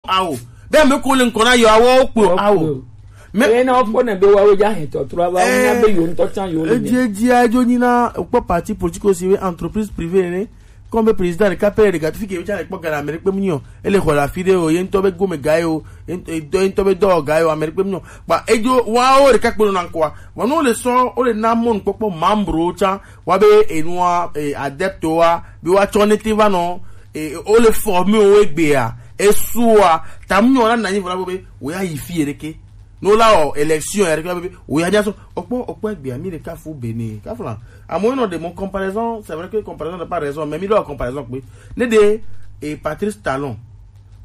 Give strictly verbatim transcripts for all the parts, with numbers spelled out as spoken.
awo. Be ame ko le ŋkɔ na yewo awo kpe o, awo. Mais eye na wokpɔ ne be woawo dza hɛn tɔtrɔ ava wonya be yewo ŋutɔ tsã yewo le edzi edzi adzo nyi na wokpɔ parti politique si be entreprise privée ne. Comme be président ɖeka pɛ ɖeka tufi ke be tsã le kpɔ ga le ame ɖe kpe mu nyi o. Ele xɔ le afi ɖe o, ye ŋutɔ be gome ga ye o, ye ŋutɔ ye ŋutɔ be dɔwɔ ga ye o, ame ɖe kpe mu nyi o. Kpa edzo woawo ɖeka kpe nɔ na ŋkɔa. Vɔ ne wole sɔ wole na mɔnukpɔkpɔ membrewo tsã wa be enua e, adeptewoa be woatsɔ nete va nɔ e, wole forme wo egbea esua tamu nyɔ la nanyi vɔ la be wo ya yi fi ɖeke. No la o élection ya ɖeke be wo ya nya sɔ okpɔ okpɔ egbea mi ɖeka fu bene kafla. Amewo nɔ de mo comparaison, c'est vrai que comparaison n'a pas raison, mais mi ɖo comparaison kpe ne de e Patrice Talon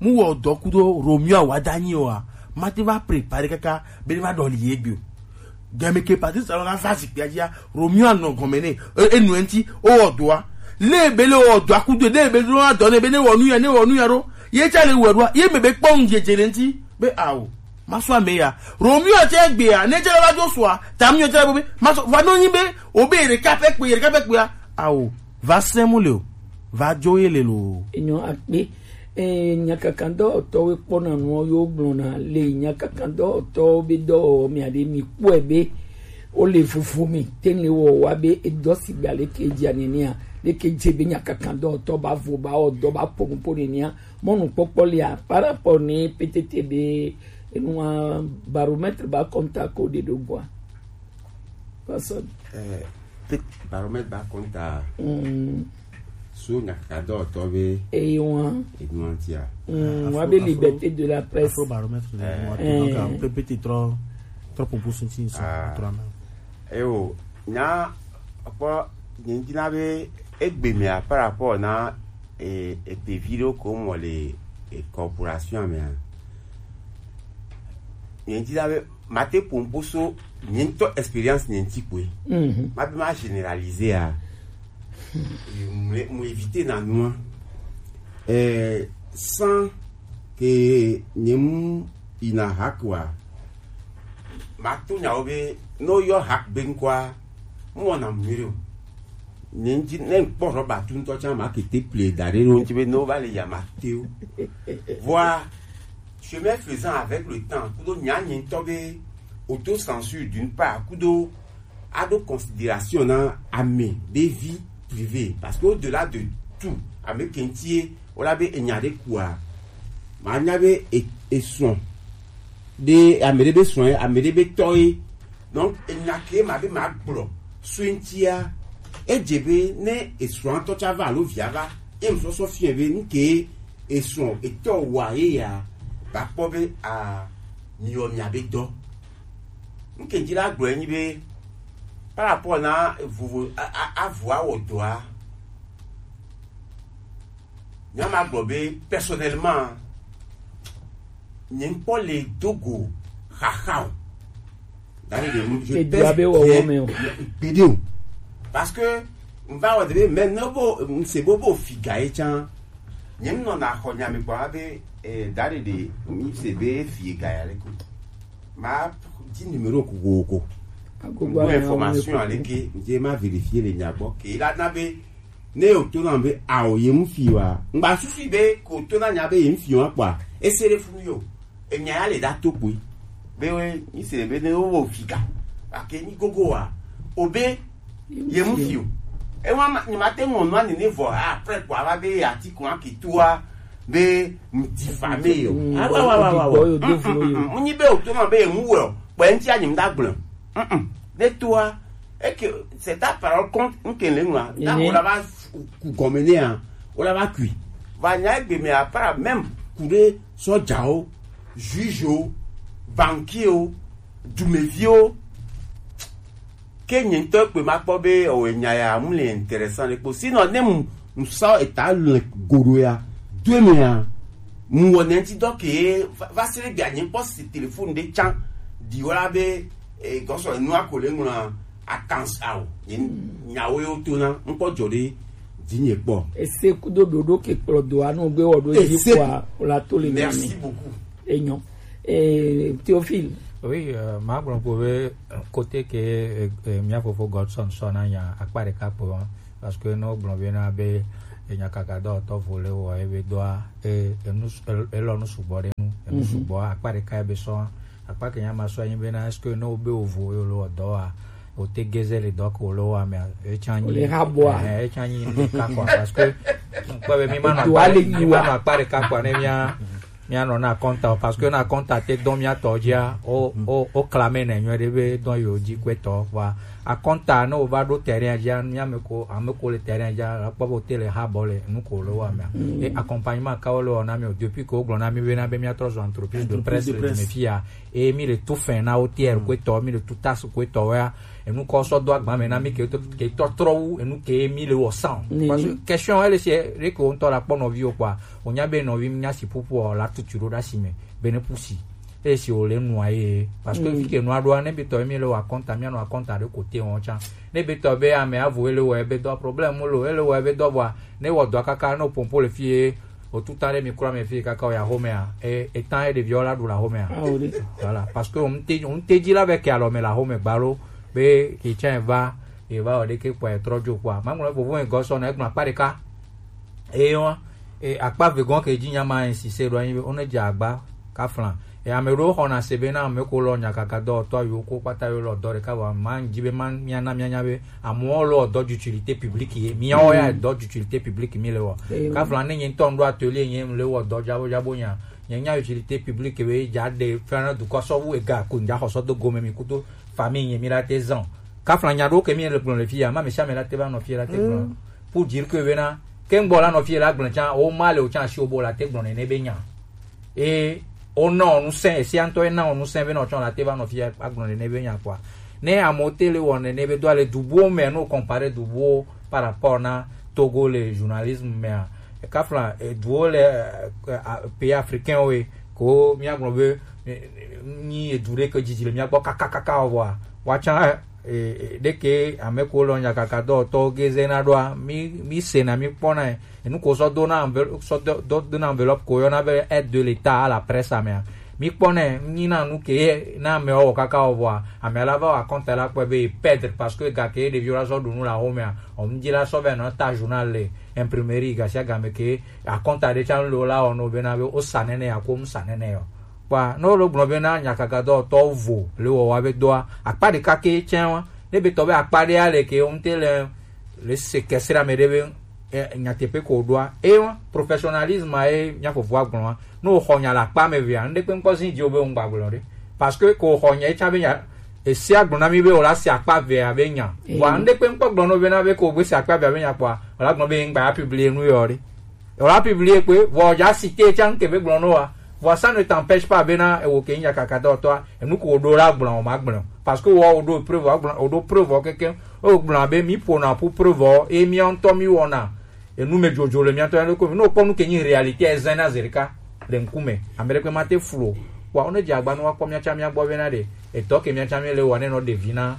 mu wɔ dɔ kudo Romeo Awadanyi wa ma te va préparer kaka be ne va ɖɔli ye gbe o. Game ke Patrice Talon la va zikpia dzia Romeo anɔ gɔme ne e- enu enti o wɔ dɔa. Le be le wɔ dɔa kudo ne be lo adɔ ne be ne wɔ nu ya ne wɔ nu ya ɖo. Ye tsa le wɔ ɖoa ye me be kpɔ nu dzedze le ŋti be awo. Maso ame ya. Romeo tse gbea ne tse va do soa tam yo tse be maso va no nyi be o be ɖeka pe kpe ɖeka pe kpea. Awo. Va semu le o. Va dzo ye le lo. Enyo akpe. Eh, nyakakandɔwɔtɔwo kpɔna nuwo yo gblɔna le nyakakandɔwɔtɔwo be dɔwɔwɔ mia ɖe mi kpɔe be wole vovo mi te le wɔ wa be edɔ si gba leke dzi anenia leke dze be nyakakandɔwɔtɔ ba vo ba wɔ dɔ ba po nupo nenia mɔnukpɔkpɔ lia par rapport ne petete be enua baromètre ba kɔnta ko de do gua. Personne. Eh, pe- baromètre ba kɔnta Mm. So nyakadɔtɔ be Eyi wan. Enuantia. Mm, wa be liberté de la presse. Afro baromètre de Eh. Moi, donc un peu petit trop trop pour pour sentir ça Ah. Autrement. Ewo nya kpɔ nyinjina be egbe mea par rapport na e e pe video ko mo le e corporation mea. Nyinjina be mate pompo so nyinto experience nyinti kwe. Mhm. Ma be ma généraliser a. Mo éviter na noa. Eh, sans que nyem ina hakwa. Ma to nyawo be no yo hak be nkwa. Mo na mire o. Ne ŋti ne ŋkpɔ rɔba tu ŋutɔ tsã ma kete ple da ɖe ɖo ŋti be ne wova le yama te o. Vɔa chemin faisant avec le temps kudo nya nye ŋutɔ be autocensure d'une part kudo aɖo considération na ame be vie privée parce que au-delà de tout ame ke ŋtie wola be enya ɖe kua ma nya be e- esrɔ̃ ɖe ame ɖe be srɔ̃ ye ame ɖe be tɔ ye donc enya ke ma be ma gblɔ so ŋtia edze be ne esrɔ̃ ŋutɔ tsa va alo via va ye ŋsɔsɔ fia be ŋke esrɔ̃ etɔ wa ye ya ba kpɔ be a miwɔ mia be dɔ ŋke dzi la gblɔ enyi be par rapport na vovo a- a- avu awɔ dɔa nyama gblɔ be personnellement nye ŋkpɔ le dogo xaxa o dani de je Edua pèse be wɔwɔ bien me o. Gbeɖe o parce que n va wɔ de be mɛ ne bo n se bo bo figa ye tsã nye n nɔna xɔ nya mi kpɔ be eh, dani de mi se be figa ya le ko ma di numéro kokoko Agogo do ame information awo aleke n je ma vérifier le nya gbɔ ke la na be ne o to na be ao ye mu fi wa ngba susu be ko to na nya be ye mu fi wa kpɔ ese le funu yo enya ya le da to kpui be we mi se be ne wo wo fika ake ni gogo wa o be ye mu fi o e wa ma ni ma te mo no ani ne vo a pre kwa ba be ya ti ko aki tu wa be mu diffamé yo Mm, ah wa wa wa wa wa yo de fo yo. Mu ni be o to na be ye mu wo kpɔ enti anyi mu da gblɔ Mm-mm. De toi et que c'est ta parole compte n ke le nua da Amen. Ko la va ku gɔme ne a o la va kui va nya egbe me apara même ku de sɔjawo jugewo banquier o dumeviwo ke nye ŋutɔ kpe ma kpɔ be o enya ya mu le intéressant le kpo sinon ne mu mu sa eta le godo ya do me ya mu wɔ ne ŋti dɔ ke va- va se ɖe gbea nye kpɔ si téléphone ɖe tsã di wɔ la be eh, gɔsɔ enua ko le ŋlɔ atans ao nye nyawo yo to na ŋkpɔ dzɔ ɖe dzi nye kpɔ Ese kudo ɖoɖo ke kplɔ do anu gbe wɔ ɖo dzi Ese- kpɔa o la to le merci nane. Beaucoup Enyo. Eh, Théophile. Oui, euh, ma gblɔ ko be kote ke eh, eh, mia fofo Godson sɔ na nya akpa ɖeka kpo parce que no gblɔ be na be eh, nyakaka dɔwɔtɔ vo le wɔ ebe dɔa eh, enu elɔ nu sugbɔ ɖe Sugbɔ akpa ɖeka ebe sɔ. Akpa ke nya ma sɔ anyi bena, est-ce que ne wobe wo vo ye lo dɔ wa, o te geze le dɔ ke wo lo wa mea, e tsa nyi. Le ha bɔ a. Eh, e tsa nyi ɖeka kɔ, parce que kpɔ be mi ma nɔ Edo akpa ale ɖe-, mi ma nɔ akpa ɖeka kɔ ne mia, mia nɔ na kɔnta o, parce que na kɔnta te dɔn mia tɔ dzia, o, o, o clame ne nyuie ɖe be dɔn yo dzi kpe tɔ, wa akɔnta ne wo va ɖo terrain dzia, mia me ko, ame ko le terrain dzia, la kpɔ be o te le ha bɔ le nu ko lo wa mea. E accompagnement ka wo le wɔ na mi o, depuis que wo gblɔ na mi be na be mia trɔ zɔ entreprise de Entreprise presse de le presse. Me fia, e mi le tout fin na O T R ko etɔ, mi le tout taxe ko etɔ wa, enu kɔ sɔ do agba me na mi ke to, ke tɔ trɔ wu, enu ke mi le wɔ san. Nini. Parce que question, elle, c'est vrai que on tɔ la kpɔ nɔvi o quoi. O nya be nɔvi mi nya si pupu o la tutu ɖo ɖa si me. Bene pusi. E si o le nua ye. Parce que fi ke nua ɖoa, ne bi tɔ mi le wa kɔnta, mi anɔ kɔnta ɖe kote wɔn tsa. Ne bi tɔ be ame avo ele wɔ ebe dɔ problème lo, ele wɔ ebe dɔ bɔa, ne wɔ dɔ kaka, no pompo le fie, o tuta ɖe mi kura me fie kaka o ya home a. E, e tan e ɖeviwo la ɖu la home a. Ah, o ɖe. Voilà. Parce que on te, on te dzi la be ke alɔ me la home gbalo, be ke tsa va, e va o ɖe ke kpɔ e trɔ dzo kpɔa. Ma ŋlɔ vovo e gɔsɔ na e gblɔ akpa ɖeka. Eye wa, e, akpa vegɔn ke dzi nya ma insister ɖo anyi be, wo ne dze agba kafla. E, ame ɖewo xɔna se be na ame ko lɔ nyakaka dɔwɔtɔ yiwo ko kpata yiwo lɔ dɔ ɖeka vɔ, ma dzi be ma mia na mia nya be amewo lɔ dɔ d'utilité publique ye. Miawo ya dɔ d'utilité publique mi le wɔ. Eyo. Kafla ne nye ŋutɔ ŋɖo atelier nye le wɔ dɔ dzabo dzabo nya. Nye nya utilité publique be dza ɖe fana dukɔ sɔwu ega ko ŋdza xɔ sɔ do gome mi kudo famille nye mi la te zan. Kafla nya ɖewo ke mi le gblɔ le fi ya, ma me sia me la te va nɔ fi la te gblɔ. Pour dire que bena, ke ŋgbɔ la nɔ fi la gblɔ tsa, o ma le o tsa si o bo la te gblɔ nene be nya. E o na o nu sɛn, e sia ŋutɔ e na o nu sɛn be na o tsɔ la te va nɔ fi agblɔ nene be nya kpɔa. Ne amewo te le wɔ nene be do ale du buwo me, no compare du buwo par rapport na Togo le journalisme mea. Kafla, e, duwo le, e, e, a, pays africain wo ye, ko mia gblɔ be, e, e, nyi edu ɖe ke dzidzi le mia gbɔ kakakaka o vɔa, wa tsa, e, e, ɖeke ame ko lɔ nyakaka dɔwɔtɔwo ge zena ɖoa, mi, mi sena, mi kpɔna, e, enu ko sɔ do na envel-, sɔ do, do, do na enveloppe ko yɔna be aide de l'État à la presse amea. Mi kpɔnɛ, nyi na nu ke na amewo wɔ kaka wɔ vɔa, amea la va wɔ akɔnta la kpɔe be e perdre parce que ga ke ɖeviwo la sɔ ɖu nu le axomea, o ŋdi la sɔ vɛ nɔ ta journal le imprimerie gasiagame ke akɔnta ɖe tsa lo la wɔ no bena be o sa nene ya ko mu sa nene yɔ. Kpɔa, ne wo lo gblɔ bena nyakaka dɔwɔtɔwo vo le wɔwa be dɔa, akpa ɖeka ke tsɛ wa, ne be tɔ be akpa ɖe ale ke o ŋte le, le se kɛse ɖe ame ɖe be e, nyateƒe ko ɖoa. Eye professionnalisme ye mía fofoa gblɔa. Ne wòxɔ nya le akpa me vea, ŋɖe kpe ŋkpɔ zi dzi wo be ŋgba gblɔ ɖe. Parce que ko xɔ nya, etsa be nya, ese agblɔ na mi be wòla se akpa vea be nya. Vɔa ŋɖe kpe ŋkpɔ gblɔ no be na be ko be se akpa vea be nya kpɔa, wòla gblɔ be ŋgba ya publier nu yɔ ɖe. Wòla publier kpe, vɔ dza citer etsa ŋke be gblɔ no wa. Vɔa ça ne t'empêche pas bena ewo ke nya kaka dɔtɔa, enu ko ɖo la gblɔ o ma gblɔ. Parce que wɔ o ɖo preuve, o gblɔ, o ɖo preuve o keke, o gblɔ be mi ƒona ƒu preuve o, e mía ŋutɔ mi wɔna. Enu me dzodzo le mía tɔ ya ɖo ko mi. Ne wokpɔ nu ke nyi réalité ezã na zi ɖeka le ŋkume. Ame ɖekpe ma te flu o. Wa wo ne dze agba ne woakpɔ mía tsã mía gbɔ bena ɖe etɔ ke mía tsã mí le wɔ ne nɔ ɖevi na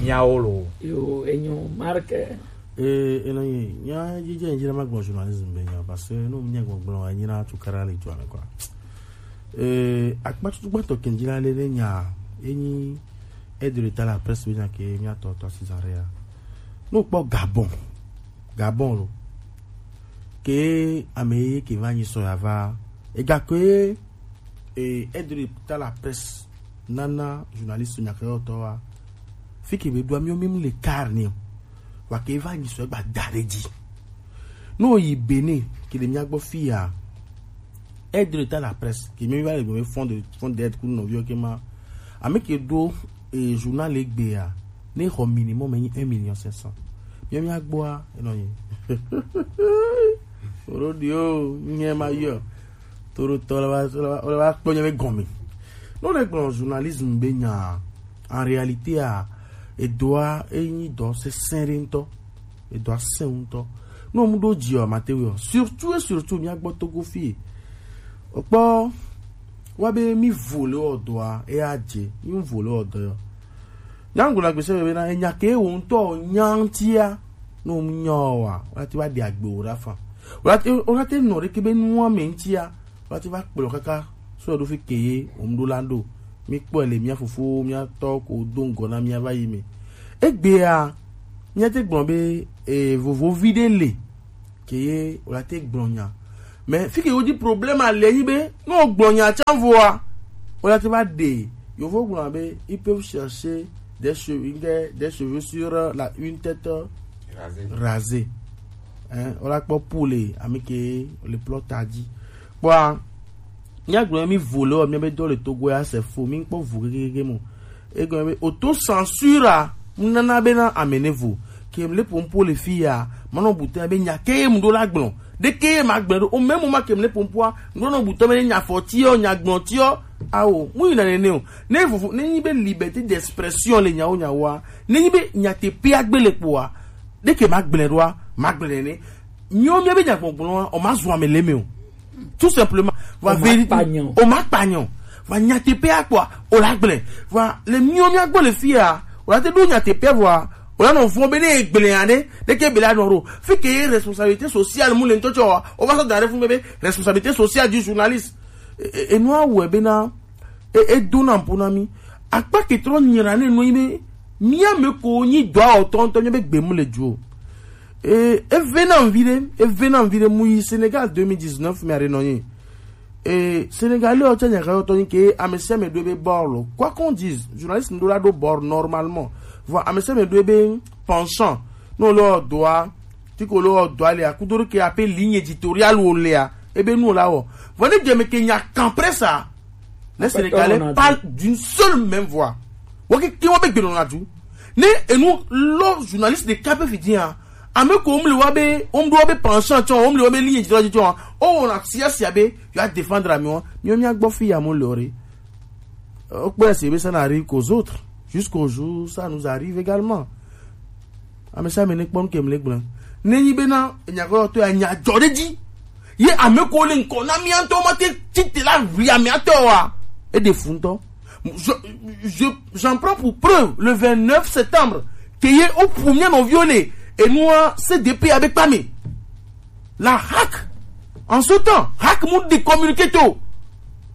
míawo lo. Yo, enyo, Mark. Ee, enɔ yi, nya dzidze nyi na magblɔ journalisme be nya, parce que no nye gbɔgblɔ enyi na tukara le dua me quoi. Ee, akpatutu gbãtɔ ke dzi la le ne nya, enyi aide de l'État à la presse be nya ke mía tɔ tɔ Césarea. No kpɔ Gabon. Gabon lo. Ke ame ye ke va nyi sɔ ya va. Ega ke, e, aide de l'État à la presse nana journaliste nyakeyɔtɔ wa. Fi ke be ɖoa mí mí le kar ni o. Wa ke va nyi sɔ gba da ɖe dzi. No yi Bénin, ke le mía gbɔ fi ya. Aide de l'État à la presse, ke mí va le gbe fond de, fond d'aide ku nɔviwo ke ma. Ame ke ɖo, e, journal egbe ya, ne xɔ minimum enyi un million cinq cents. Mía mía gbɔa, enɔ nyi. Oro di o, nye ma yɔ. Toro tɔ le va, le va, le va kpɔ nye be gɔme. No le gblɔ journalisme be nya, en réalité a, edoa, enyi dɔ sesẽ ɖe ŋutɔ. Edoa sesẽ ŋutɔ. No mu ɖo dzi o, Mateo, surtout et surtout mía gbɔ Togo fi. Okpɔ, wa be mi vo le o dɔa, e a dze, mi vo le o dɔ yɔ. Nyangu la gbese be na, enya ke wo ŋutɔ nya ŋutia, no mu nya o wa, o la te va ɖe agbe o ɖa fa. O la te, o la te nɔ ɖe ke be nua me ŋutia, o la te va kplɔ kaka, so ɖo fi ke ye, o mu ɖo la ɖo. Mi kpɔe le mía fofo, mía tɔ ko do ŋgɔ na mía va yi me. Egbea, mía te gblɔ be, e, vovovi ɖe le, ke ye, o la te gblɔ nya. Mais fi ke wo di problème a le nyi be, no gblɔ nya tsa voa, o la te va de. Yovo gblɔ be, ils peuvent chercher des cheveux, des cheveux sur la, une tête rasée. Hein, o la kpɔ pour les, ami ke le plot a dit. Bon, nya gblɔ mi vole o, mi be do le Togo ya, c'est faux, mi kpɔ vo kekeke mo. Egɔme be autocensure a, nana be na amenevo. Ke mle pompo le fi ya, manɔ bute be nya ke mu do la gblɔ. De ke ma gblɔ do. O même moment ke mle pompo a, nɔ bute be nya fɔti o, nya gblɔ ti o. Awo, mu yi na nene o. Ne vovo, ne nyi be liberté d'expression le nyawo nyawo a. Ne nyi be nya te pe agbe le kpo a. De ke ma gblɔ do a, ma gblɔ ne. Miwo mi be nya gbɔgblɔ a, o ma zu ame le me o. Tout simplement. Va vérité. O ma kpanyɔ. Va nyateƒe akpɔa, o la gblẽ. Va le miwo mia gbɔ le fia, o la te ɖo nyateƒe vɔa, o la nɔ vɔ̃ be ne egblẽ aɖe, ɖeke be la nɔ ɖo. Fi ke ye responsabilité sociale mu le ŋutɔ tsɔ, o va sɔ da ɖe fun be, be responsabilité sociale du journaliste. E, e, enua wɔe be na, e, e do na ƒo na mi. Akpa ke trɔ nyra ne nɔ yi be, mia me ko nyi dɔa o tɔ ŋutɔ nye be gbe mu le dzo. E, eve na mvi ɖe, eve na mvi ɖe mu yi Sénégal deux mille dix-neuf me aɖe nɔ nyi. E, Sénégalais o tsa nya ka tɔ nyi ke ame sia ame ɖo be bord lo. Quoi qu'on dise, journaliste ndo la ɖo bord normalement. Vɔ ame sia ame ɖo be penchant. No lo doa, ti ko lo doa le akudo ke ape ligne éditoriale o le a. Ebe nu la o. Vɔ ne deme ke nya kan presse a. Les Sénégalais parlent d'une seule même voix. Wo ke ke wo be gbe nɔ na du. Ne enu lo journaliste de kape fidien a. Ame ko omle wa be, omdo wa be penchant tsɔ, omle wa be ligne éditoriale tsɔ. O wona sia sia be, yo a défendre ami wa. Mi mi agbɔ fi ya mo lore. O kpɛ se be ça n'arrive qu'aux autres. Jusqu'au jour, ça nous arrive également. Ame sia ame ne kpɔ nu ke mle gblẽ. Ne nyi be na enya ko to ya nya dzɔ ɖe dzi. Ye ame ko le ŋkɔ na mia ŋutɔ ma te tite la ʋli amea tɔ wa. E de fu ŋutɔ. Je, je, j'en prends pour preuve le vingt-neuf septembre que ye o ƒu mia nɔviwo le enua C D P abe kpame. La hack. En ce temps, hack mu di communiqué to.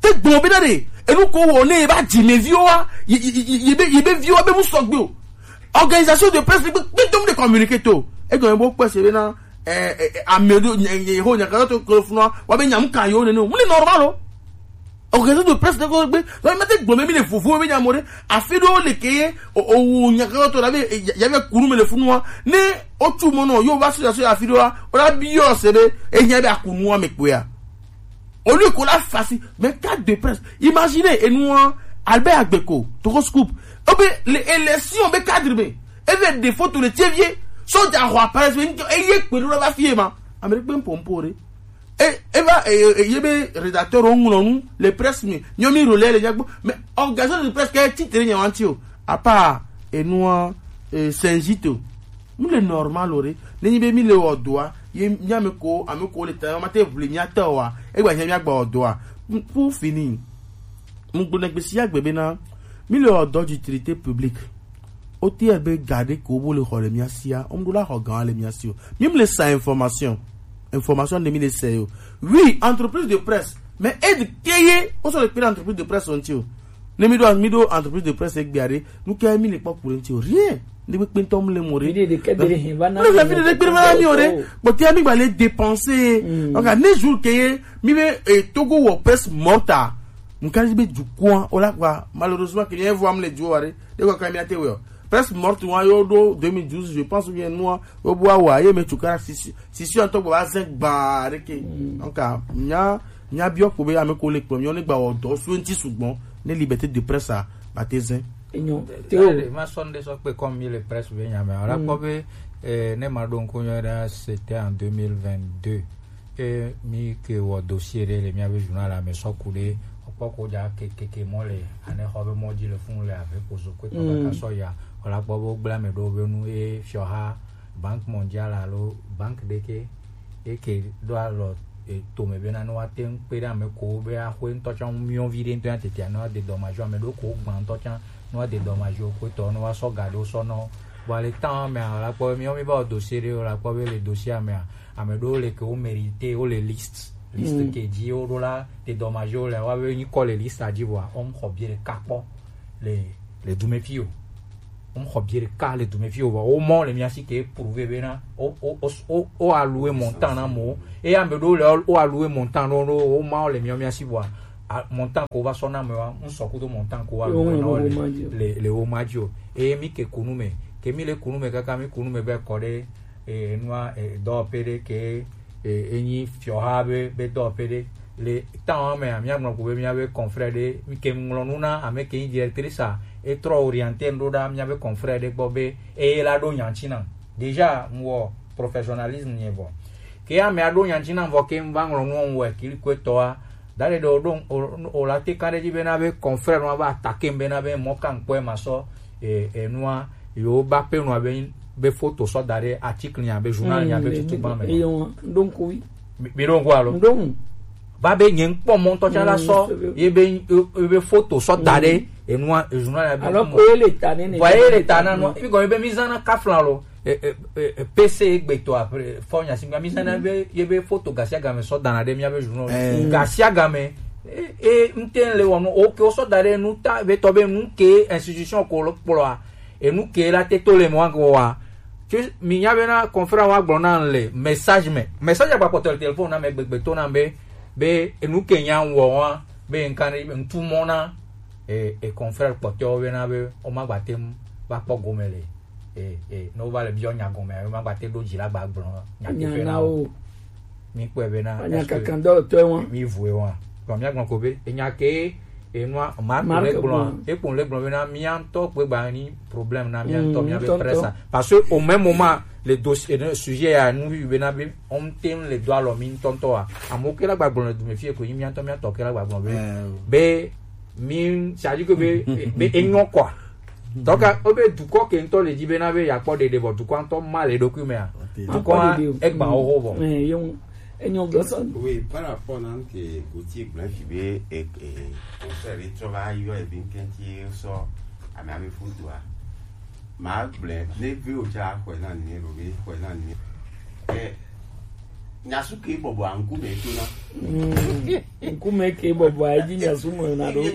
Te gbɔn be na de. Enu ko wɔ ne ye ba dzi me viwo wa. Ye, ye, ye, ye be, ye be viwo be mu sɔgbe o. Organisation de presse gbe gbe dom de communiqué to. E gɔme bo kpɛ se be na, eh, eh, eh, ame ɖo, nye, nye, ho, nya ka to klo funu wa, wa be nya mu ka yo ne no. Mu le normal o. Organisation de presse de ko gbe, wa ma te gblɔ me mi le vovo me nya mo ɖe. Afi ɖo le ke ye, o, o, nya ka to la be, eh, ya, ya be kunu me le funu wa. Ne o tu mo no, yo va so ya so afi ɖo wa, o la bi yo se be, e nya be akunu wa me kpo ya. Au lieu qu'on a facile, mais cadre de presse. Imaginez, et nous, hein, Albert Agbeko, Togo Scoop. Obe, les élections, be cadre, be. Eve des photos, le tievier, soja roi, par exemple, et y est, que nous, la fille, ma. Amérique, même pour, pour, et, et va, et, et, y est, rédacteur, on, on, les presses, mais, y a mis relais, les, mais, organisation de presse, qui est titre, y a un tio. À part, et nous, hein, et Saint-Gito. Mi le normal o ɖe. Ne nyi be mi le wɔ dɔa, ye mi ame ko, ame ko le ta, ma te ʋli mia tɔ wa. E gba nya mia gba wɔ dɔa. Pour fini. Mu gblɔ na gbe sia gbe be na, mi le wɔ dɔ d'utilité publique. O T R be ga ɖe ko bo le xɔ le mia sia, o mu ɖo la xɔ gan le mia si o. Mi mu le sa information. Information de mi le se yo. Oui, entreprise de presse. Mais aide ke ye, o so le kpe entreprise de presse on tio. Ne mi ɖo, mi ɖo entreprise de presse egbe aɖe, nu ke mi le kpɔ ku ɖe ŋuti o? Rien. Ne kpekpe ŋutɔ mu le mo ɖe. Mi ɖe ɖe ke de ɖe hin va na mi. Mi ɖe ɖe kpe va na mi o ɖe. Kpɔtɔa mi gba le dépenser. Donc, ne jour ke ye, mi be, eh, Togo wɔ presse morte a. Mu ka be dukɔa, o la kpa, malheureusement, ke ye vo am le du wa ɖe. De kɔ ka mi ate wɔ. Presse morte wa yo ɖo deux mille douze, je pense bien, nua, o bo wa, ye me tukara sisi, sisi ŋutɔ gba va zẽ gba ɖe ke. Donc, nya, nya biɔ ko be ame ko le kplɔ mi, o ne gba wɔ dɔ so ŋuti sugbɔ, ne liberté de presse a, ba te zẽ. Enyo. Théo. Allez, ma sɔn de sɔ kpe comme mi le presse be nya me. Ora kpɔ be, eh, ne ma ɖo ŋku nyuie ɖe, c'était en deux mille vingt-deux. E mi ke wɔ dossier ɖe le mia be journal a me sɔ ku ɖe, kpɔ ko dza ke, ke, ke mɔ le, ane xɔ be mɔ dzi le funu le ave ko zo kpe tɔ kaka sɔ ya. Wala kpɔ be wogblẽ ame ɖewo be nu ye fiɔ ha Banque Mondiale alo banque ɖe ke, ye ke ɖo alɔ, e, tome be na ne woate ŋu kpe ɖe ame ko be axwe ŋutɔ tsã ŋu miɔ vi ɖe ŋutɔ ya tete ne woade dɔmajo ame ɖewo ko gbã ŋutɔ tsã ne woade dɔmajo ko etɔ ne woasɔ ga ɖewo sɔ nɔ. Vɔ le temps mea, wala kpɔ be miɔ mi va wɔ dossier ɖe, wala kpɔ be le dossier mea, ame ɖewo le ke wo mérité, wo le liste, liste ke dzi wo ɖo la, te dɔmajo le, wa be nyikɔ le liste dzi vɔa, wo xɔ biɛ ɖeka kpɔ le, le dumefi o. Ŋxɔ biɖe ka le dume fi o vɔ wo mɔ le mía si ke prouver bena o o o o o alue montant na mo. Eye ame ɖewo le o alue montant ɖo ɖo wo ma wo le mía mía si vɔa a- montant ko va sɔ na me wa ŋsɔ kudo montant ko wa Yo, alue na wo le wo ma dzi o. Le le wo ma dzi o. Eye mi ke kunu me ke mi le kunu me kaka mi kunu me be kɔ ɖe e- enua e- dɔwɔƒe ɖe ke e- enyi fiɔha be be dɔwɔƒe ɖe le temps mea míagblɔ ko be míabe confrère ɖe mi ke ŋlɔ nu na ame ke nyi directrice a etrɔ orienter ɖo ɖa míabe confrère ɖe gbɔ be eye la ɖo nyanti na déjà ŋwɔ professionnalisme nye vɔ ke ame aɖo nyanti na vɔ ke ŋva ŋlɔ nu ŋwɔ kili ko etɔa da ɖe ɖe o ɖo o- o la te kan ɖe dzi bena be confrère nua va attaquer bena be mɔ ka ŋkpɔe ma sɔ e- enua yewo ba pe nua be be photo sɔ da ɖe article nya be journal nya be tutu gba me. Eyo, donc oui. Mi mi ɖo ŋku alo? Ŋɖo ŋu. Va be nye ŋkpɔ mɔ ŋutɔ tsã la Mm, sɔ c'est vrai. Ye be ye be photo sɔ da ɖe enua journal nya be Alors ŋku que ele ta nene. Vɔ ye le ta na nua ebi gɔme be mi zã na kafla lo e- e- e- e- P C egbe to après fɔ nya si mi zã na be ye be photo gasiagame sɔ da na ɖe mia be journal. Eh. Gasiagame e e ŋte le wɔ nu o ke o sɔ da ɖe nu ta be tɔ be nu ke institution ko lo kplɔa enu ke la te to le mɔ wa. Tsi mi nya bena confrère wa gblɔ na le message me message agba kpɔtɔ le téléphone na me gbegbe to na be be enu ke nya wɔ wa be nka ne ntu mɔ na e e confrère kpɔtɔ bena be o ma gba te mu va kpɔ gome le e e ne o va le biɔ nya gome o ma gba te ɖo dzi la gba gblɔ nya ke Nya fe na na o. O. Mi kpɔe bena anya est-ce que kankan dɔ tɔ wɔn. Mi vue wɔn. Bon, mi agblɔ ko be enya ke enua Mark Mark le gblɔ gblɔ. Ekpɔ le gblɔ bena mia ŋutɔ kpe gba ni problème na mia ŋutɔ Mm, mia be ŋutɔ, presse ŋutɔ. Parce que au même moment le dossier le sujet ya nu bi bena be on tem le do alɔ mi ŋutɔ ŋutɔ wa amewo ke la gba gblɔ le dume fie ko yi mia ŋutɔ mia tɔ ke la gba gblɔ be Eh. Be mi c'est-à-dire que be be enyɔ quoi. Donc o be dukɔ ke ŋutɔ le dzi bena be yakpɔ ɖeɖe vɔ dukɔ ŋutɔ ma le ɖokui mea. Ok. Dukɔ Akpɔ ɖeɖe o. Egba wo ho vɔ. Eh, ye ŋu. Enyo gblɔ sɔ. Oui, par rapport na ke Gauthier gblɔ fi be e e conseil trɔ va yɔ ebi ŋkɛnti sɔ ame ame foto a. Ma gblɔ ne vi o tsa xɔe na ni ne be xɔe na ni. Eh, nyasu ke bɔbɔ a ŋkume to na. Mm. Ŋkume ke bɔbɔ a edzi nyasu me na ɖo.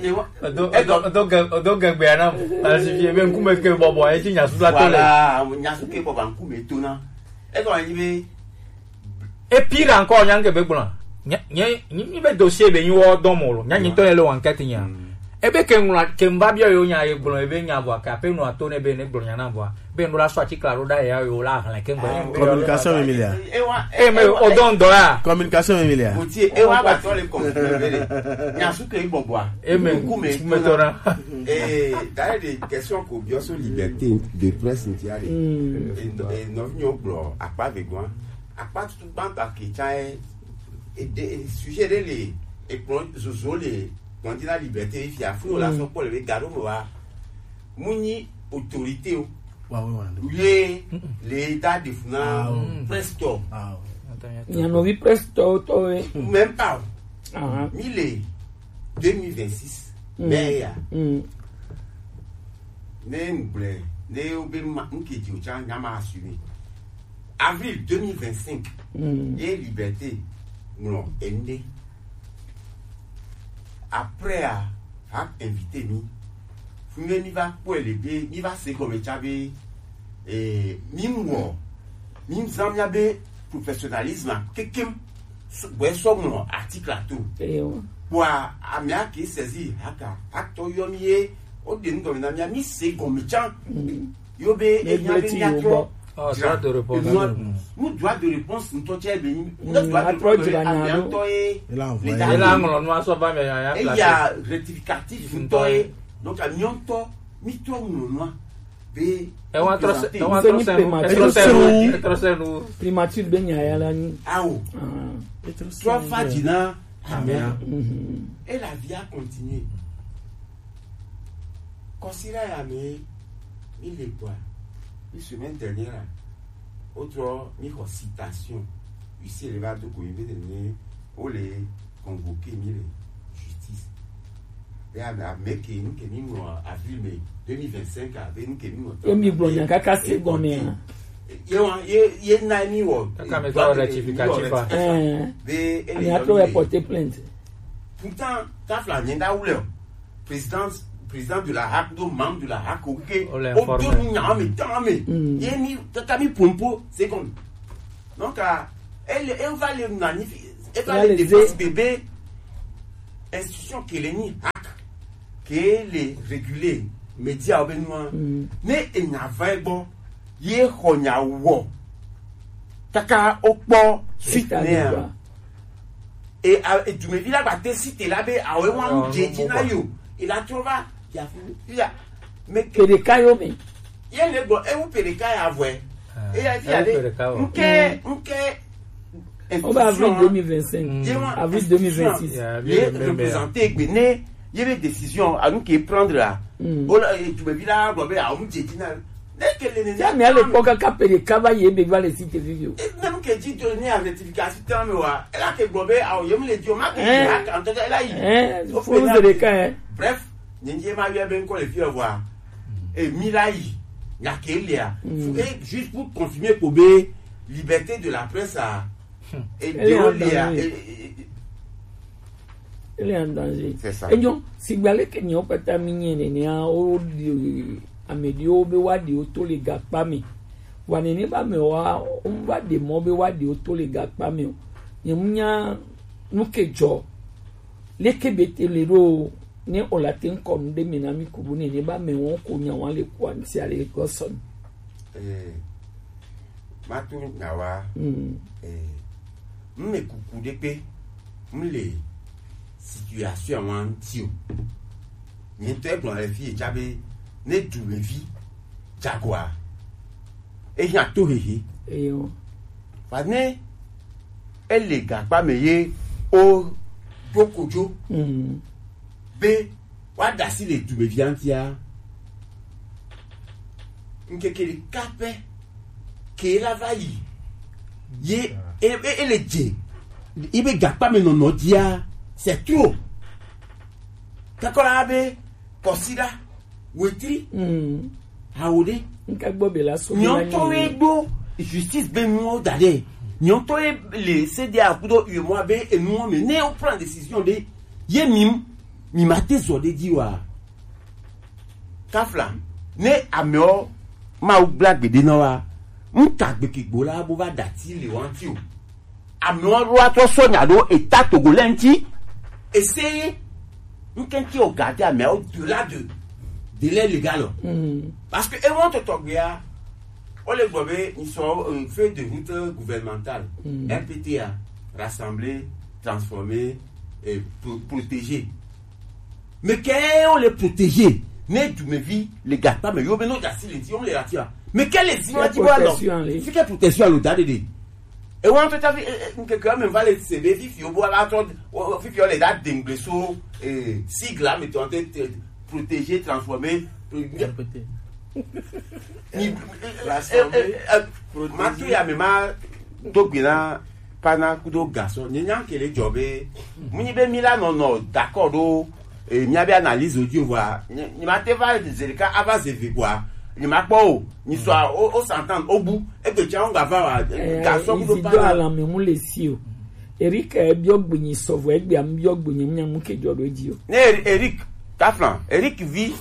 Edo edo edo ge edo gegbea nam. Asi fi ebe ŋkume ke bɔbɔ a edzi nyasu la to le. Voilà, nyasu ke bɔbɔ a ŋkume to na. Egɔme nyi be. Et pire encore, nya ŋke be gblɔ. Nye nye nye be dossier be nyi wɔ dɔn mo lo. Nya nyi tɔ ye le enquête nya. Mm. Ebe ke ŋlɔ ke ŋva biɔ yo nya ye gblɔ ebe nya vɔ ke ape nɔ ato ne be ne gblɔ nya na vɔ. Be ŋɖo la sɔ atikla ɖo ɖa ya yo la hlẽ ke ŋgbe. Ah, communication me mi lia. Ewa, e me ewa, o dɔn dɔ ya. Communication me mi lia. Oti ewa ba tɔ le communication me le. Nya su ke bɔbɔa. E me ŋkume ŋkume tɔ na. Eh, d'ailleurs, des questions ko biɔ so liberté de presse nti ale. Mm. E nɔ e nɔ nyɔ gblɔ akpa ve gɔn. Akpa tutu gbagba ke tsa e e de e sujet de le e kplɔn zozo le kplɔn di na liberté fia fún o la sɔ kpɔ le be ga ɖo me wa. Mu nyi autorité o. Wa, wa, wa. Ye le da de funa Ah, oh. Presse tɔ. Ah, oh. Nyanɔvi presse tɔ tɔ ye. Même pas. Ah. Mi le deux mille vingt-six. Mm. Mais ya. Mm. Ne ŋgblɛ ne wo be ma ŋke di o tsa nya ma assumer. Avril deux mille vingt-cinq. Mm. Ye liberté. Non, ende. Après a, a invité mi. Fune mi va kpɔe le be mi va se gɔme tsa be eh, mi wɔ mi zan mia be professionnalisme kekem bɔe sɔ ŋlɔ article ato. Eyo. Kpɔa amea ke saisir haka atɔ yɔ mi ye o de nu gɔme na mia mi se gɔme tsa. Mm. Yo be enya be mia trɔ. Oh, droit de réponse. Droit de réponse ŋutɔ tsɛ be nyi. Mm, ne droit de réponse be amea ŋutɔ ye. Il a envoyé. Il a ŋlɔ nu asɔ va mɛ ya ya. Eya rectificatif ŋutɔ ye. Donc amia ŋutɔ mi trɔ ŋlɔ nua be. Ewa trɔ se ewa trɔ se nu etrɔ se nu etrɔ se nu. Primature be nya ya la nyi. Awo. Trɔ fa dzi na amea. Et la vie a continué. Kɔsiɖa ya me mi le gbɔa, mi semaine dernière a, wotrɔ mi xɔ citation. Huissier le va do go mi be ne wo le convoquer mi le justice. Be ame ame ke nu ke mi ŋlɔ avril me deux mille vingt-cinq a be nu ke mi ŋlɔ. Ye mi gblɔ nya kaka se gɔme a. Ye wa ye ye na mi wɔ. Kaka me tɔ rectificatif a. Eh. Be ele mi atrɔ yɔ mi le porter plainte. Pourtant, tafla nyɛ da wulɛ o. Président président de la hac, do membre de la hac, ok. On l'a informé. Au deux mille, mais tant, mais. Mm. Et mi, tata mi pompo, c'est comme. Donc, euh, elle, elle va le magnifier. Elle va le défense bébé. Institution qui est ni hac, qui est régulée, média au Benoît. Mm. Ne, elle n'a pas bon. Ye honya wo. Kaka okpo suite ne. E a, e dumevi la ba te si te la be awe wa mu je ji na yo. E la tro va ya fu ya. Me ke de ka yo me. Ye le gbo e wu pe de ka ya vwe. E ya fi ya de. Nke nke. On va avril deux mille vingt-cinq. Avril deux mille vingt-six. Ye représenter gbe ne ye be décision à nous qui prendre là. O la e dumevi la gbo be awe mu je ji na. Ti a mi a le kpɔ kaka pe ɖeka va yi ebe va le si te vivi o. Même que dit donner à rectification temps me wa. Elle a que gbo be awo yem le dio ma ke ya kan to la yi. Hein, faut nous aider quand, hein. Bref, nyenye ma yɔ be nkɔ le fi wa. Et mi la yi ya ke le a. Et juste pour confirmer ko be liberté de la presse a. Et de le a. Ele en danger. C'est ça. Enyo, sigba leke nyawo kpata mi nye nenea, wo ɖi ame ɖewo be woaɖi wo to le gakpa me. Vɔa nene ba me wa, wova ɖe mɔ be woaɖi wo to le gakpa me o. Nye mu nya nu ke dzɔ. Leke be te le ɖo o, ne o la te ŋkɔ nu ɖe me na mi ku bu nene ba me wɔn ko nya wɔn le ku antia le gɔsɔn. Eh, matu nyawa. Mm. Eh, mme kuku ɖe kpe. M le situation wa ŋuti o. Nye ŋutɔ egblɔ le fi etsa be ne dumevi dzagoa, ehiã tohehe. Eyo. Va ne ele gakpa me ye o ɖo kodzo. Mm. Be woaɖe asi le dumevia ŋutia. Ŋkeke ɖeka pɛ ke la va yi. Ye e, e, ele dze yi be gakpa me nɔnɔ dzia, c'est trop. Kakɔla be kɔsiɖa wetri. Mm. Hawo ɖe. Ŋka gbɔ be la so. Nyɔtɔ ye ɖo justice be nuwo da ɖe. Nyɔtɔ ye le C D A kudo U E M O A be enuwo me ne o prend décision ɖe. Ye mi mi ma te zɔ ɖe dzi wa. Kafla ne amewo Mawu gbla gbeɖe na wa. Ŋka gbekegbo la bo va ɖati le wa ŋuti o. Amewo ɖo atrɔ sɔ nya ɖo eta togo lɛ ŋuti. Essayer ŋkɛŋkɛ o garder amewo au-delà de délai légal o. Mm. Parce que ewo tɔtɔ gbea, o le gbɔ be ils sont, euh, feuille de route gouvernementale, mm. R P T A, rassembler, transformer, et pro-, protéger. Mais kɛ o le protéger ne dumevi le gakpa me yo be no dasi le ti o le la ti a. Mais kɛ le zi wa ti bo alɔ. Fi ke protection lo da de de. E wa to ta fi, e, e, ke ke me va le se be fi fi o bo ala to, o, o, fi fi o le da dengle so, eh, sigle, mettons, te, te, protéger, transformer, pro-, ni, eh, eh, eh, eh, ma to ya me ma do gbe na pana kudo garçon. Nye nya ke le dzɔ be, mu nyi be mi la nɔ nɔ d'accord ɖo, eh, mia be analyse o di o vɔa. Nye, nye ma te va ze ɖeka ava ze ve kpoa. Nye ma kpɔ o. Nye sɔ o, o s'entendre, o bu. Egbe tsa ŋgba va wa. Eh, garçon kudo izi pana. Do alame mu le si o. Eric, eh, biɔ gbe nyi sɔvɔ, egbe am biɔ gbe nyi mu nya mu ke dzɔ ɖo edzi o. Ne Eri-, Eric, Kaflan, Eric vi,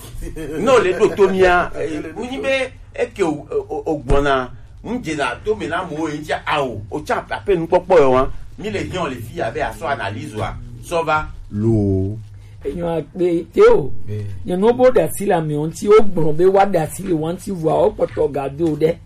no le ɖo to mia, eh, mu nyi be eke o, o, o gbɔna, mu dzena to me na mo, e dza awo, o tsa ape nukpɔkpɔ yɔ wa, mi le hiɔ le fi abe asɔ analyse wa, sɔ va lo. Enyo akpe te o. Eh. Nye no bo ɖe asi le amewo ŋuti, o gblɔ be wa ɖe asi le wa ŋuti vɔa, o kpɔtɔ ga do ɖe.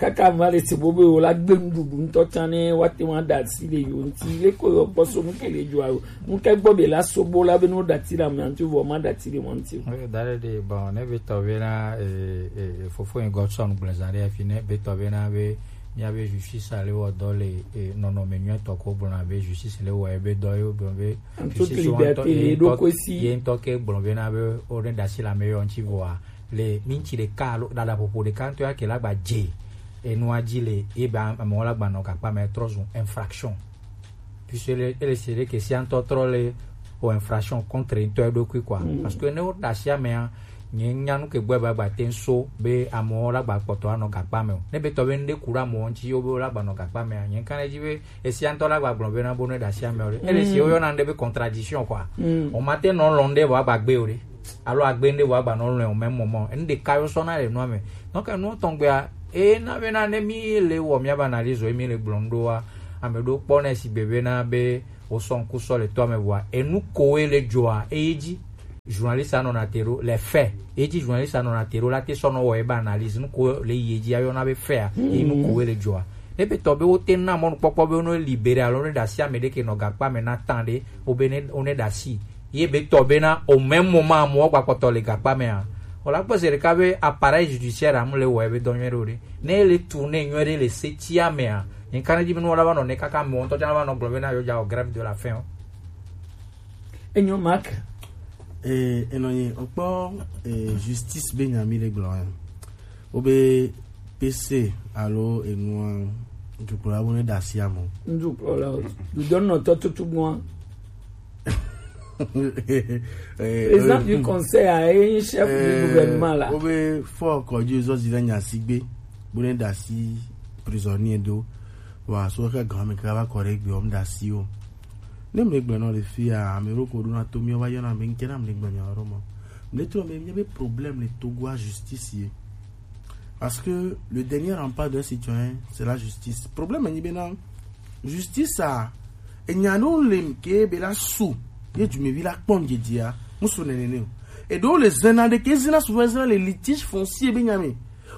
Kaka va le se bo be wo la gbe nuɖuɖu ŋutɔ tsã ne woate ŋu aɖe asi le yewo ŋuti. Le ko yɔ kpɔ so nu ke le dzɔa o. Nu ke gbɔ be la so bo la be ne woɖe ati le amea ŋuti vɔ ma ɖe ati le mɔ ŋuti o. Eh, da ɖe ɖe, bon, ne be tɔ be na, eh, eh, eh, fofo yi Godson gblẽ zã ɖe afi ne be tɔ be na be mía be justice le wɔ dɔ le, eh, nɔnɔme nyuitɔ ko gblɔna be justice le wɔ ebe dɔ ye wogblɔ be en toute justice liberté, ye ŋutɔ, ye ŋutɔ ke gblɔ be na be wo ne ɖe asi le ame yewo ŋuti vɔa, le minti ɖeka alo ɖaɖa ƒoƒo ɖeka ŋutɔ ya ke la gba dze enua dzi le ye be amewo la gba nɔ gakpa me trɔ zu infraction. Puisque ele, ele se ɖe ke sia ŋutɔ trɔ le o infraction contre ŋutɔ eɖokui quoi. Mm. Parce que ne wo ɖe asi amea, nye nya nu ke gbɔ be agba te ŋu so be amewo la gba kpɔtɔ anɔ gakpa me o. Ne be tɔ be nu ɖe ku ɖe amewo ŋuti wo be wo la gba nɔ gakpa mea, nye ŋka ɖe edzi be esia ŋutɔ la gba gblɔ be na bo ne ɖe asi ame o ɖe. Ele se wo yɔna nu ɖe be contradiction quoi. Mm. O ma te nɔ lɔn ɖe vɔ agba gbe o ɖe. alo agbe ɖe vɔ agba nɔ lɔe o même moment. Enu ɖeka yo sɔ na le nua me. Donc enu tɔn gbea, e na be na ne mi le wɔ mi aba analyse o, mi le gblɔ nu ɖo wa, ame ɖo kpɔ ne si be be na be o sɔ ŋku sɔ le tɔ me vɔa, enu ko e le dzɔa, e yi dzi. Journaliste anɔ na te ɖo le fɛ. E dzi journaliste anɔ na te ɖo la te sɔ nɔ wɔ e ba analyse nu ko le yi dzi ayɔ na be fɛ a, e nu ko e le dzɔa. Ne be tɔ be wo te na mɔnukpɔkpɔ be wo nɔ libéré alo ne ɖasi ame ɖe ke nɔ gakpa me na tan ɖe, o be ne o ne ɖasi. Ye be tɔ be na o même moment amewo gba kpɔtɔ le gakpa me a. O la kpɔ se ɖeka be appareil judiciaire amu le wɔ ebe dɔ nyuie ɖo ɖe. Ne le tourner nyuie ɖe le se tia me a. Nyi ka ne dzi be nu wala va nɔ ne kaka me ŋutɔ tsã va nɔ gblɔ be na yo dza o grève de la faim o. Enyo Mark. Eh, enɔ nyi okpɔ eh, justice be nya mi le gblɔ ya. Wo be P C alo enua dukplɔla bo ne ɖasi amo. Dukplɔla o. Dudɔnɔtɔ tutugbɔa. Eh, Président du conseil a ye chef du gouvernement la. Wo be fɔ kɔdzi zɔ zi na nya si gbe. Bo ne ɖasi prisonnier do. Wa so ka gan me ka va kɔ ɖe gbe o m ɖasi o. Ne mle gblɔ nɔ le fia, ame ɖo ko ɖo na to mi va yɔna me nke na mle gblɔ nya ɖo mɔ. Mle trɔ me mi be problème le Togo a justice ye. Parce que le dernier rempart d'un citoyen, c'est la justice. Problème ni be na justice a, e nya no le ke be la su, ye du me vi la kpɔn djedia, musu nene ne o. E do le zena de ke zena souvent zena le litige foncier be nya me.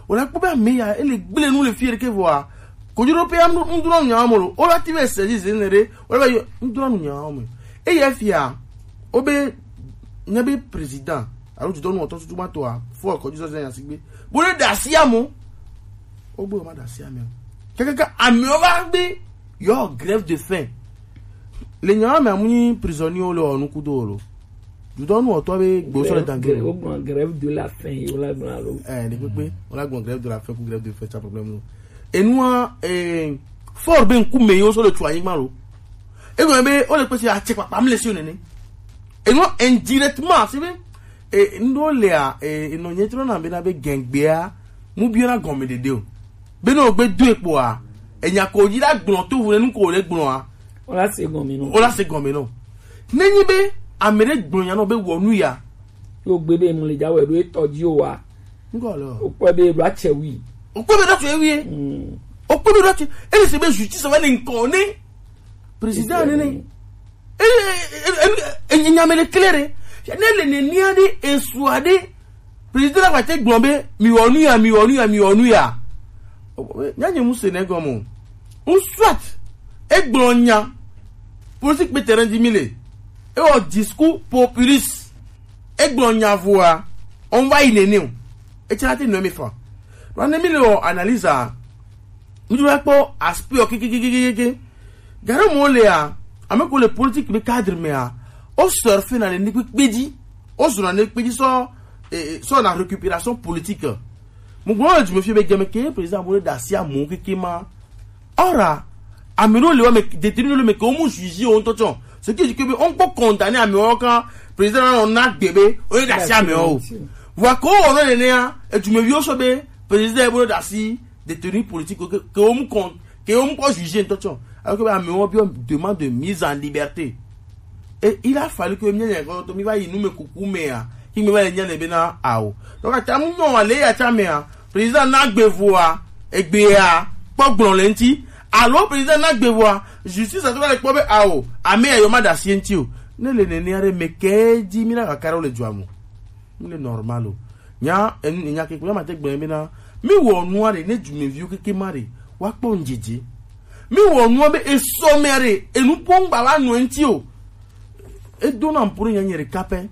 O la kpɔ be ame ya ele gble nu le fie ɖeke vɔa. Kodzo ɖo pe ya ŋdro nya mo lo. O la ti be sezi zene ɖe. O la be ŋdro nu nya mo. E ya fia. O be ne be président. Alo tu dɔnu ɔtɔ tutu ma to a. Fɔ kodzo zɔ zena sigbe. Bo le ɖasi amo. O gbe o ma ɖasi ame. Kaka ame o va be yo grève de faim. Le nya me amu ni prisonnier o le o nu kudo lo. Dudɔnu ɔtɔ be gbe sɔ le dan gbe. O gbɔn grève de la faim yi o la gbɔn alo. Eh, ne kpekpe, o la gbɔn grève de la faim ku grève de faim tsa problème lo. Enua eh fort be nku me yo so le tu anyigba lo. E gbɔn be o le pese a tse papa mi le si o nene. Enua indirectement si be eh ndo le a eh eno nye tro na be na be gengbe a mu bi na gɔme dede o. Be no gbe do ekpo a. Enya ko yi la gbɔn to wu ne nu ko le gbɔn a. O la se gɔme no. O la se gɔme no. Nenyi be ame ɖe gblɔ nya nɔ be wɔ nu ya. Yo gbe be mu le dza wɛ ɖo etɔ dzi o wa. Ŋgɔ lɔ. O kpɔ be ɖo atsɛ wi. O kpɔ be ɖo atsɛ wi. Mm. O kpɔ be ɖo atsɛ. Ele se be justice va le ŋkɔ ne. Président ne ne. E e e e e nya me le clair. Ne le ne nia de esua de. Président la va te gblɔ be mi wɔ nu ya, mi wɔ nu ya, mi wɔ nu ya. Nya nye mu se ne gɔme o. Ou soit e gblɔ nya politique pe terrain di mi le. E wɔ discours populiste. E gblɔ nya voa on va yi nene o. E tsara te nɔ mi fa. Wa ne mi le wɔ analyse a. Mi do la kpɔ aspect o kikikikiki. Gare mo le a, ame ko le politique be cadre me a. O surfer na le ni kpekpe dzi. O zona ne kpekpe dzi so eh, so na récupération politique. Mo gbɔ du me fi be game ke président mo le ɖasi amo keke ma. Ora ame ɖo le wa me détenu le me ke o mu juger o ŋutɔ tsɔ. Ce qui dit que be on peut condamner ame o kan président na na gbe be o le ɖasi ame o. Wa ko o no le ne a, e du me vi o so be président e bo le ɖasi détenu politique ke ke o mu kon ke o mu ko juger ŋutɔ tsɔ. Alors que ame o bi demande de mise en liberté. Et il a fallu que mi nya ko to mi va yi nu me kuku me a. Ki me va nya le be na a o. Donc ata mu no wa le ya ta me a. Président na gbe voa, egbe a, kpɔ gblɔ le ŋti. Alo président na gbe voa, justice a to va le kpɔ be a o. Ame ya yo ma ɖasi ŋti o. Ne le nene are me ke di mi na ka kara o le dua mo. Mi le normal o. Nya en nya ke kula ma te gbe mi na. Mi wɔ nua re ne du me vi o keke ma re. Wa kpɔ ŋjeje. Mi wɔ nua be esɔ me re. Enu pon ba wa nu ŋti o. E do na mpuru nya nyere kapɛ.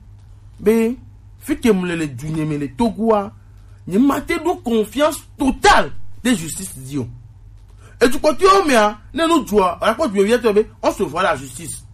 Be fi ke mu le le du nye me le Togo a. Nye ma te do confiance totale de justice di o. Etu kpɔtɔewo mea, ne nu dzɔa, o la kpɔ dzɔe wietɔ be, on se voit la justice.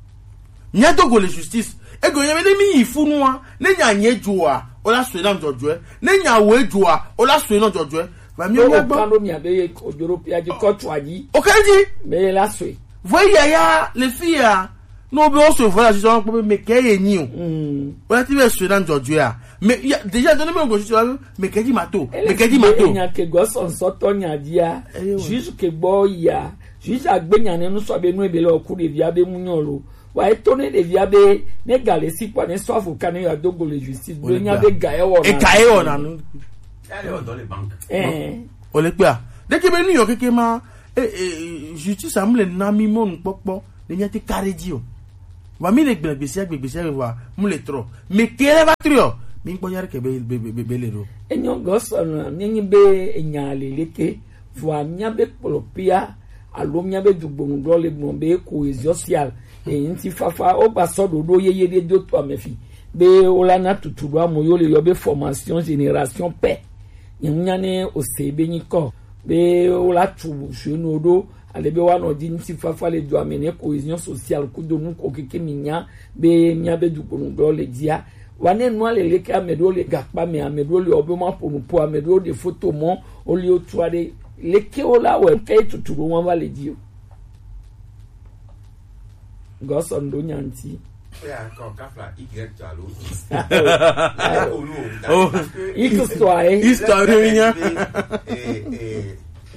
Mía do go le justice. Ego nye be ne mi yi fu nua, ne nya nye dzɔa, o la sue na dzɔdzɔe. Ne nya wo dzɔa, o la sue na dzɔdzɔe. Va mi Ke mía gbɔ. Wòkan ɖo mia be ye odzro pia dzi kɔ tso adzi. O kan dzi. Be ye la sue. Vɔ yaya le fi ya. No be o sue voila sisɔ kpɔ be me ke ye nyi o. Mm. O ya ti be sue na dzɔdzɔe a. Me ya déjà donné me go sisɔ me ke dzi ma to. Me ke dzi ma to. Nya ke go sɔnsɔtɔ nya dia. Eyo. Juge ke gbɔ ya. Juge agbe nya ne nu sɔ be nu ebe le oku ɖevia be mu nyɔ lo. Wa eto ne ɖevia be ne ga le si kpɔ ne sɔ avocat ne ya do go le justice be nya be ga ewɔ na. Eka ewɔ na nu. Ole kpea. Ɖeke be nu yɔ keke ma, e, e, justice amu le na mi mɔnu kpɔkpɔ ne nya te kare di o. Wa mi le gblẽ gbesi agbe gbesi agbe wa mu le trɔ. Mi kele va trɔ. Mi kpɔ nya ɖeke be be be be le ɖo. Enyɔ gɔsɔ na mi nyi be enya le leke. Vɔa míabe kplɔpea alo míabe dugbonugblɔ le gblɔ be cohésion sociale, e, ŋutifafa wogba sɔ ɖoɖo yeye ɖe do to ame fi be wola na tutu ɖo amo yo le yɔ be formation génération paix. Nye ŋu nya ne ose be nyikɔ be wola tu jeune ɖo ale be woanɔ dzi ŋutifafa le dua me ne cohésion sociale kudo nu ko keke mi nya be míabe dugbonugblɔ le dzia. Wa ne nua le leke ame ɖewo le gakpa me, ame ɖewo le ɔbe ma ƒo nu ƒo, ame ɖewo ɖe foto mɔ, woli wotua ɖe leke wo la wɔ ke tutu ɖo wa va le dzi o. Gɔsɔ ndo nya ŋti. Oh. Histoire, eh. Histoire, oui, hein.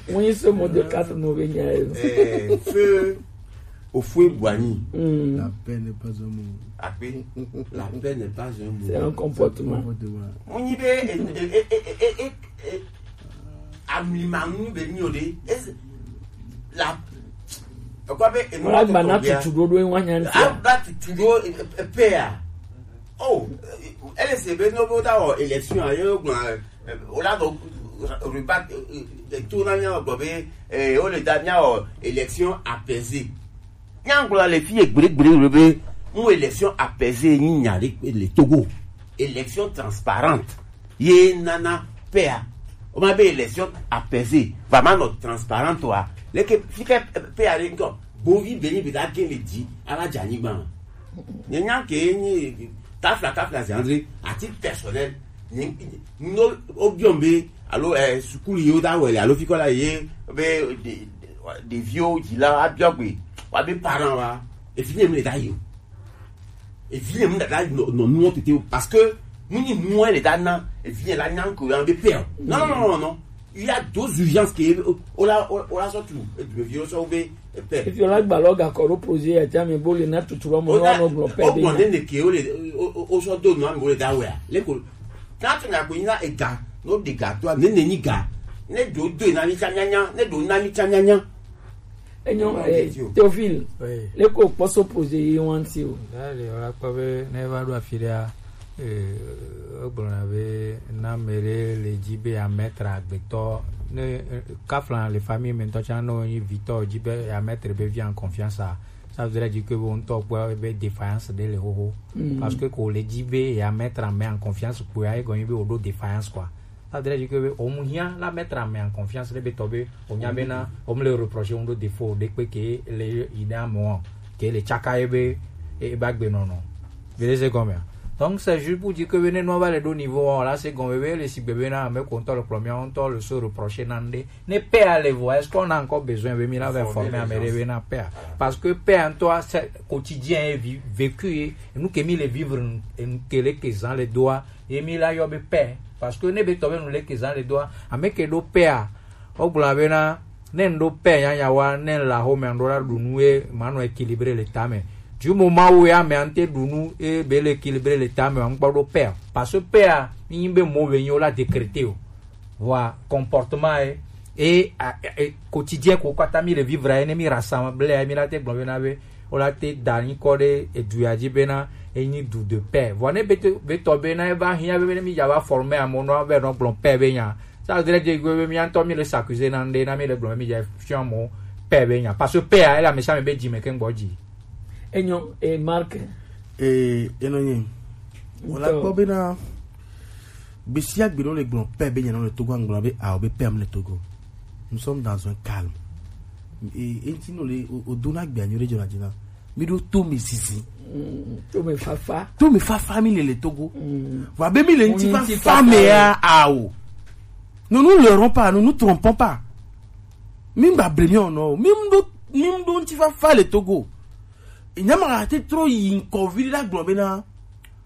Wọ́n yín sọ mọ́tò káàtó mọ́ bẹ́ẹ̀ ní ayé. Feu au fouet boigny. Mm. La paix n'est pas un mot. Après, la paix n'est pas un mot. C'est un comportement. Wọ́n yín bẹ́ẹ̀ amlimanu bẹ́ẹ̀ ní o de. La. Ọkọ bẹ enu Wọ́n á gbà náà tutù dodo ẹ̀ wọ́n á nyà ń sọ. Agba tutù do pẹ́ à. Oh, ele se be no bo da o élection a yo gbọn o la do rebat to na nya gbọ be o le da nya o élection apaisée. Nya gbọ le fi egbre gbre be mu élection apaisée ni nya le Togo. Élection transparente. Ye nana paix a. O ma be élection apaisée, vraiment no transparente wa. Leke fike paix a le nko. Bovi beni be da gen le di ala dza nyigba. Nye nya ke nyi kafla kafla c'est André à titre personnel. Nye no obion be alo eh sukulu yo da wele alo fiko la ye be de de vieux di la abiogbe wa be parent wa e fini me da yo. E fini me da no no no tete parce que muni moi le da na e fini la nyanko ya be père. Non non non non. Il y a d'autres urgences que ola ola surtout e du vieux so be père. Efi ola gba lo ga koro projet ya jami bo le na tuturo mo no no glo pe be. O mo ne ne ke o le o so do no mo le da we a. Le ko ka tu na ko ina e ga no de ga to ne ne ni ga. Ne do do na ni cha nya nya, ne do na ni cha nya nya. Enyo eh, Théophile. Oui. Le ko poso projet yi wanti o. Dale ola ko be ne va do afi da. Egblɔna be na ame ɖe le dzi be yeametre agbetɔ ne kafla le famille me ŋutɔ tsã ne wonyi vitɔ dzi be yeametre be vi en confiance a, ça voudrait dire que be wo ŋutɔ kpɔ be défaillance ɖe le xoxo. Parce que ko le dzi be yeametre ame en confiance kpoa egɔme be woɖo défaillance quoi. Ça voudrait dire que be womu hiã la metre ame en confiance ɖe be tɔ be wonya bena womele reprocher wo ɖo défaut ɖekpe ke le yi ɖe amewo ke le tsaka ye be ebe agbenɔnɔ. Vous voyez ce que je veux dire? Donc c'est juste pour dire que ne nua va le do niveau là c'est comme be le si bebe na ame ko ntɔ le kplɔ mia ntɔ le se reprocher na nde. Ne paix a le voix, est-ce qu'on a encore besoin be mi la va former ame de be na paix a? Parce que paix en toi c'est quotidien est vi- vécu et nous que mi le vivre et nous que le que zan le doa et mi la yo be paix parce que ne be to be nous le que zan le doa ame ke do paix a. Wogblɔna bena ne ŋɖo paix nyanyawoa, ne ŋle axomea, ŋɖo la ɖu nu ye manɔ équilibré le tame. Du moment où ya amea ŋte ɖu nu ye be le équilibré le tame, ŋkpɔ ɖo paix. Parce que paix a, mi nyi be mo be nyi wo la décréter o. Vɔa comportement ye, et, et, et quotidien ko kata mi le vivre ye, ne mi rassemble ye, mi la te gblɔ bena be, wo la te da nyikɔ ɖe edu ya dzi bena, enyi du de paix. Vɔa ne be to, be tɔ bena eva hiã be, be ne mi dza va former amewo nɔ, be nɔ gblɔ paix be nya. Ça voudrait dire que mía ŋutɔ mi le s'accuser na ŋɖe na mi le gblɔ mi dze fiɔ mo paix be nya parce que paix a ele ame sia ame be dzi me ke ŋgbɔ dzi. Enyo e Mark. Ee enɔ nye. Wòle akpɔ bena gbe sia gbe ɖewo le gblɔ paix be nya na le Togo aŋgblɔ be ao be paix am le Togo. Nous sommes dans un calme. Ee eŋti no le o do na gbe anyo ɖe dzɔ na dzi na. Mi ɖo to mi zizi. To me fafa. To me fafa mi le le Togo. Mm. Vɔ abe mi le ŋuti fafa me ya ao. Nous nous leurrons pas, nous nous trompons pas. Mi mba ble mi ono. Mi mdo mi mdo ŋuti fafa le Togo. Nyama ate tro yi ŋkɔ vi la gblɔ bena.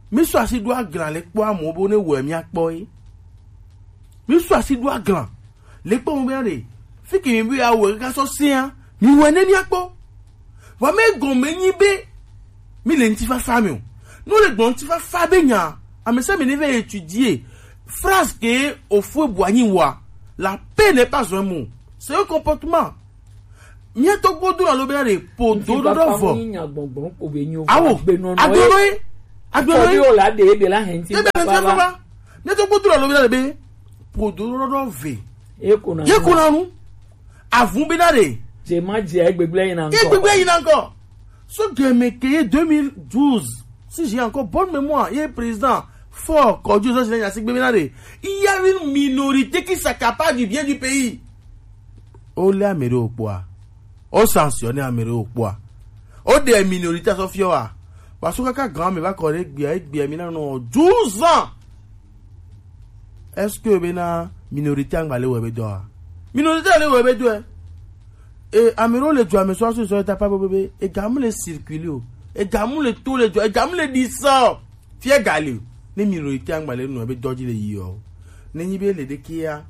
Mi sɔ asi ɖo aglã le kpɔ amewo bo ne wɔ mi akpɔ ye. Mi sɔ asi ɖo aglã. Le kpɔ mo bena ɖe fike mi be awɔ kaka sɔ sia mi wɔ ne mi akpɔ. Vɔ me gɔme nyi be Mi le ŋutifafa me o. Ne wole gblɔ ŋutifafa be nya, ame sia ame ne va étudier phrase ke Houphouët-Boigny wa. La paix n'est pas un mot. C'est un comportement. Mía tɔgbuiwo do alo bena ɖe ƒo do ɖoɖo vɔ. Awo, agbenɔ ye. Agbenɔ ye. Ebe le ŋutifafa. Mía tɔgbuiwo do alo bena ɖe be ƒo do ɖoɖo ve. Ye ko na nu. Avu bena ɖe. Dze ma dze egbegble yina ŋkɔ. Egbegble yina ŋkɔ. So game ke ye deux mille douze, si j'ai encore bonne mémoire, ye président Faure Caudieu, ça, je l'ai signé, il y a une minorité qui s'accapare du bien du pays. O le ame ɖewo kpɔa, o sanctionner ame ɖewo kpɔa, o ɖe minorité sɔ fiɔ wa. Parce que kaka grand me va kɔ ɖe gbia, gbia mi na nɔ douze ans. Est-ce que bena minorité angba le wɔ ebe dɔa? Minorité le wɔ ebe dɔe. E ame ɖewo le dua me sɔ asu sɔ eta pa bebebe. Ega mu le circuler o. Ega mu le to le dua. Ega mu le ɖi sa o. Fie ga le o. Ne minorité angba le nɔ ebe dɔ dzi le yi o. Ne nyi be le ɖe kia.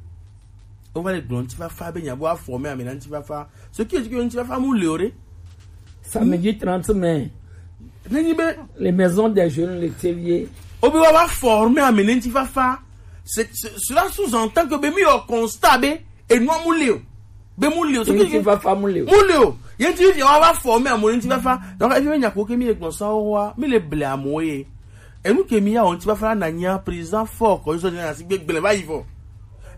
O va le gblɔ ŋutifafa be nya bo afɔ me ame na ŋutifafa. Ce qui est que ŋutifafa mu le o ɖe. Samedi trente mai. Nenyi be les maisons des jeunes le Tsevier. Obi wa va former ame ne ŋutifafa. C'est, c'est, cela sous-entend que be mi yɔ constat be enua mu le o. Be mu le o. Ce qui ŋutifafa mu le o. Mu le o. Ye ŋutifafa wa va former ame ne ŋutifafa. Donc efi me nya ko ke mi le gbɔn sa wa mi le ble amo ye. Enu ke mi ya o ŋutifafa na nya président Faure Caudieu na si gbegble va yi vɔ.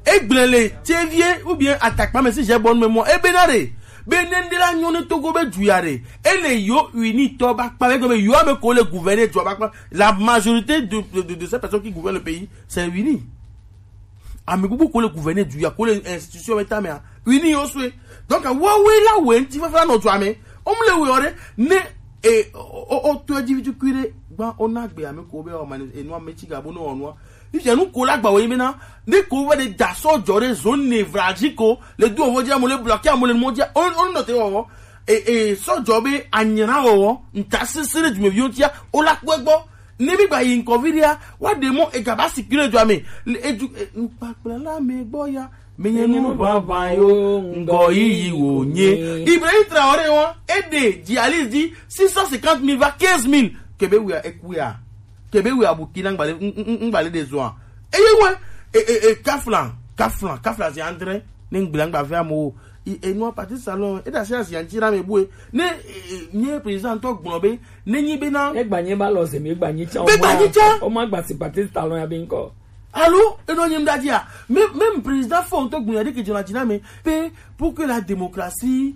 Egblẽ le Tsevier ou bien Atakpa me si j'ai bonne mémoire. Ebe na re. Be nende la nyɔ ne Togo be du ya re. Ele yo uni tɔ ba kpa be be yo ame ko le gouverner du ba kpa. La majorité de, de, de, de ces personnes qui gouvernent le pays, c'est uni. Ame bubu ko le gouverner du ya ko le institution be ta me a. Uni yo sue. Donc wa we la we ŋutifafa no du ame. O mu le we ore ne e o o to di vitu kuire gba o na gbe ame ko be o mani enu ame ti ga bo no onua. Ife nu ko la gba wo yi be na ne ko we de da so jore zone ne vraji ko le du owo je mo le bloquer mo le mo je o o no te wo e e so jo be anyira wo nta sisire du me bi o ti ya o la gbo gbo. Ne mi gba yi nko viria wa de mo e ga ba sikire jo ame e du e npa kpla la me gbo ya. Menyenu vava yo ngɔ yiyi wo nye. Ibrahim Traoré wa ede dialyse di six cent cinquante mille va quinze mille. Kebe wia ekuya. Kebe wia Burkina ngbale ngbale de zua. Eye we e e e kafla kafla kafla si andre ne ngbila ngba ve amo. Enua parti salon e da si asi anti na me bue ne nye président to gbɔn be ne nyi be na. Egba nye ba lɔ se mi egba nyi tsa. Be gba nyi tsa. O ma gba si parti salon ya be nkɔ. Alo, eno nyim dadi a. Même, même président Faure ŋutɔ gbɔna ɖe ke dzɔna dzi na me pe pour que la démocratie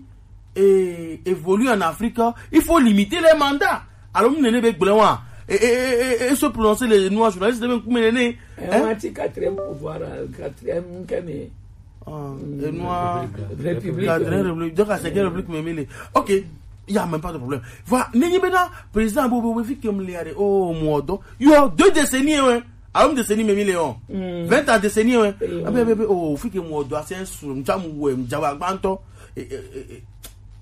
eh, évolue en Afrique, il faut limiter les mandats. Alo mu nene be gblẽ wa. Et, et, et, et, et se prononcer les noirs journalistes de même nene. Eh, hein? On a dit quatrième pouvoir, euh, quatrième kemi. Ah, et noir République. Quatrième république. Donc à cinquième république même il est. Ok, il y a même pas de problème. Voilà, nenye bena président bobo we fi kem le are oh modo. Yo deux décennies hein. Awo mu de se ni memi le on. Vingt ans de se ni on. Abe abe abe oh fi ke mu odo ase su nja mu we nja wa gbanto.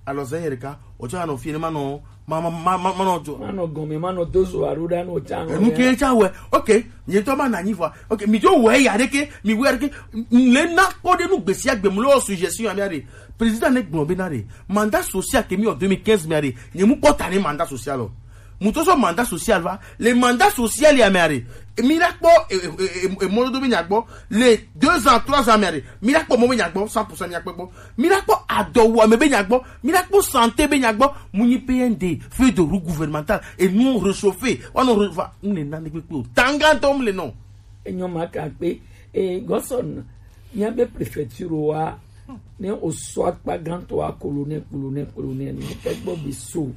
Alors c'est yereka o cha no fi ne ma no ma ma ma ma no jo. Ma no gon me ma no do so aru da no cha. E mu ke cha we. Ok. Ni to ma na ni fwa. Ok, mi jo we ya de ke mi we ya de ke le na ko de nu gbesi agbe mu lo suggestion ami are. Président ne gbon be na re. Mandat social ke mi en deux mille quinze mi are. Ni mu ko ta ni mandat social o. Mutoso mandat social va. Le mandat social ya me are. Mi la kpɔ emɔdodo be nya gbɔ. Le deux ans trois ans me are. Mi la kpɔ mɔ be nya gbɔ cent pour cent mi la kpɔ gbɔ. Mi la kpɔ adɔwuame be nya gbɔ. Mi la kpɔ santé be nya gbɔ. Mu nyi P N D, feuille de route gouvernementale et nous réchauffer. Wa no va. N le na ne kpekpe o. Tangantɔ m le nɔ. Enyo ma ka kpe. E gɔsɔn. Míabe prefecture wa, ne wòsɔ akpa gãtɔa, colonel, colonel, colonel, ne ke gbɔ be so.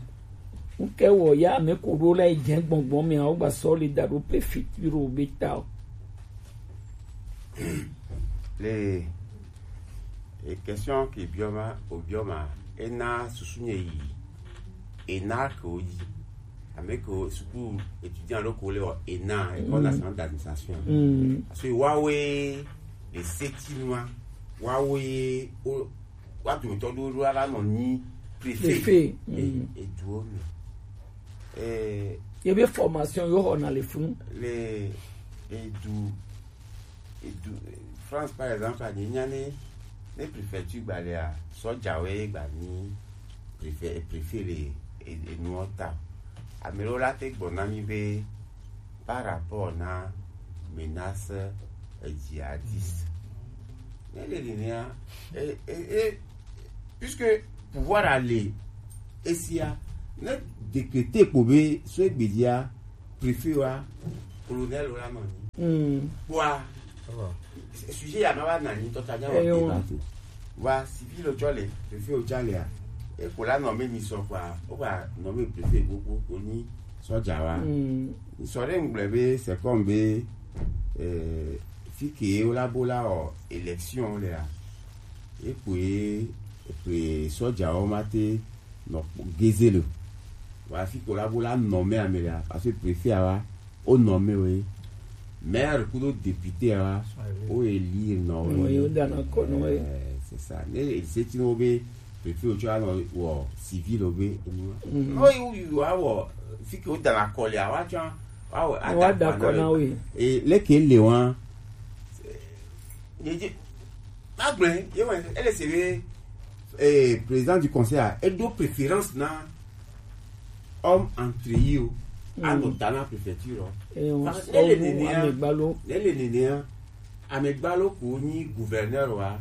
Ŋke wɔ ya ame ko ɖo la yi dze gbɔngbɔn mea, wogba sɔ le da ɖo prefecture be ta o. Le e question ke biɔ ma, o biɔ ma, ena susu nye yi. Ena ke wo yi. Ame ke wo suku étudiant ɖo ko le wɔ ena, École nationale d'administration. Parce que wawoe le seti nua, wawoe o wa dometɔ ɖo ɖo ala nɔ nyi préfet. Préfet. E eduwo me. Eh, ye be formation yo xɔna le funu. Le edu edu France par exemple anyi nya ne ne préfecture gba lea sɔdzawoe gba nyi préfet préfet le e- enuɔ ta. Ame ɖewo la te gblɔ na mí be par rapport na menace djihadiste. Ne le nenea, e, e, e, puisque pouvoir a le esia, ne décréter kpo be so egbe dzia, préfet wa, colonel wa nɔ anyi. Mm. Kpoa, sujet ya ma va na anyi tɔ ta nya wa débat o. Wa civil o tsɔ le, préfet o tsɔ lea, e ko la nɔ me mi sɔ kpoa, o va nɔ me préfet gbogbo ko ni sɔdza wa. Mm. Sɔ ɖe ŋgblɔe be c'est comme be, eh, fi ke wo la bo la wɔ élection lea, e kpoe, e kpoe sɔdzawo ma te nɔ kpɔ geze le. Wa fi ko la bo la nɔ me ame lea, parce que préfet a wa, o nɔ me we. Maire kudo député a wa, o élire nɔ we. Oui, o dana kɔ nɔ we. Eh, c'est ça. Ne e se ti no be préfet o tsɔ anɔ wɔ civil o be enu. Mm. No, you, you a wɔ, fi ke o dana kɔ lea, wa tsɔ, wa wɔ, wa da kɔ na we. E, leke le wa. Ye, ye, ma gblɔe, ye wɔ, ele se be, eh, président du conseil a, e do préférence na homme entre yi o, a nɔ ta na préfecture o. Parce que ne le nenea, ne le nenea, amegbalo ko nyi gouverneur wa,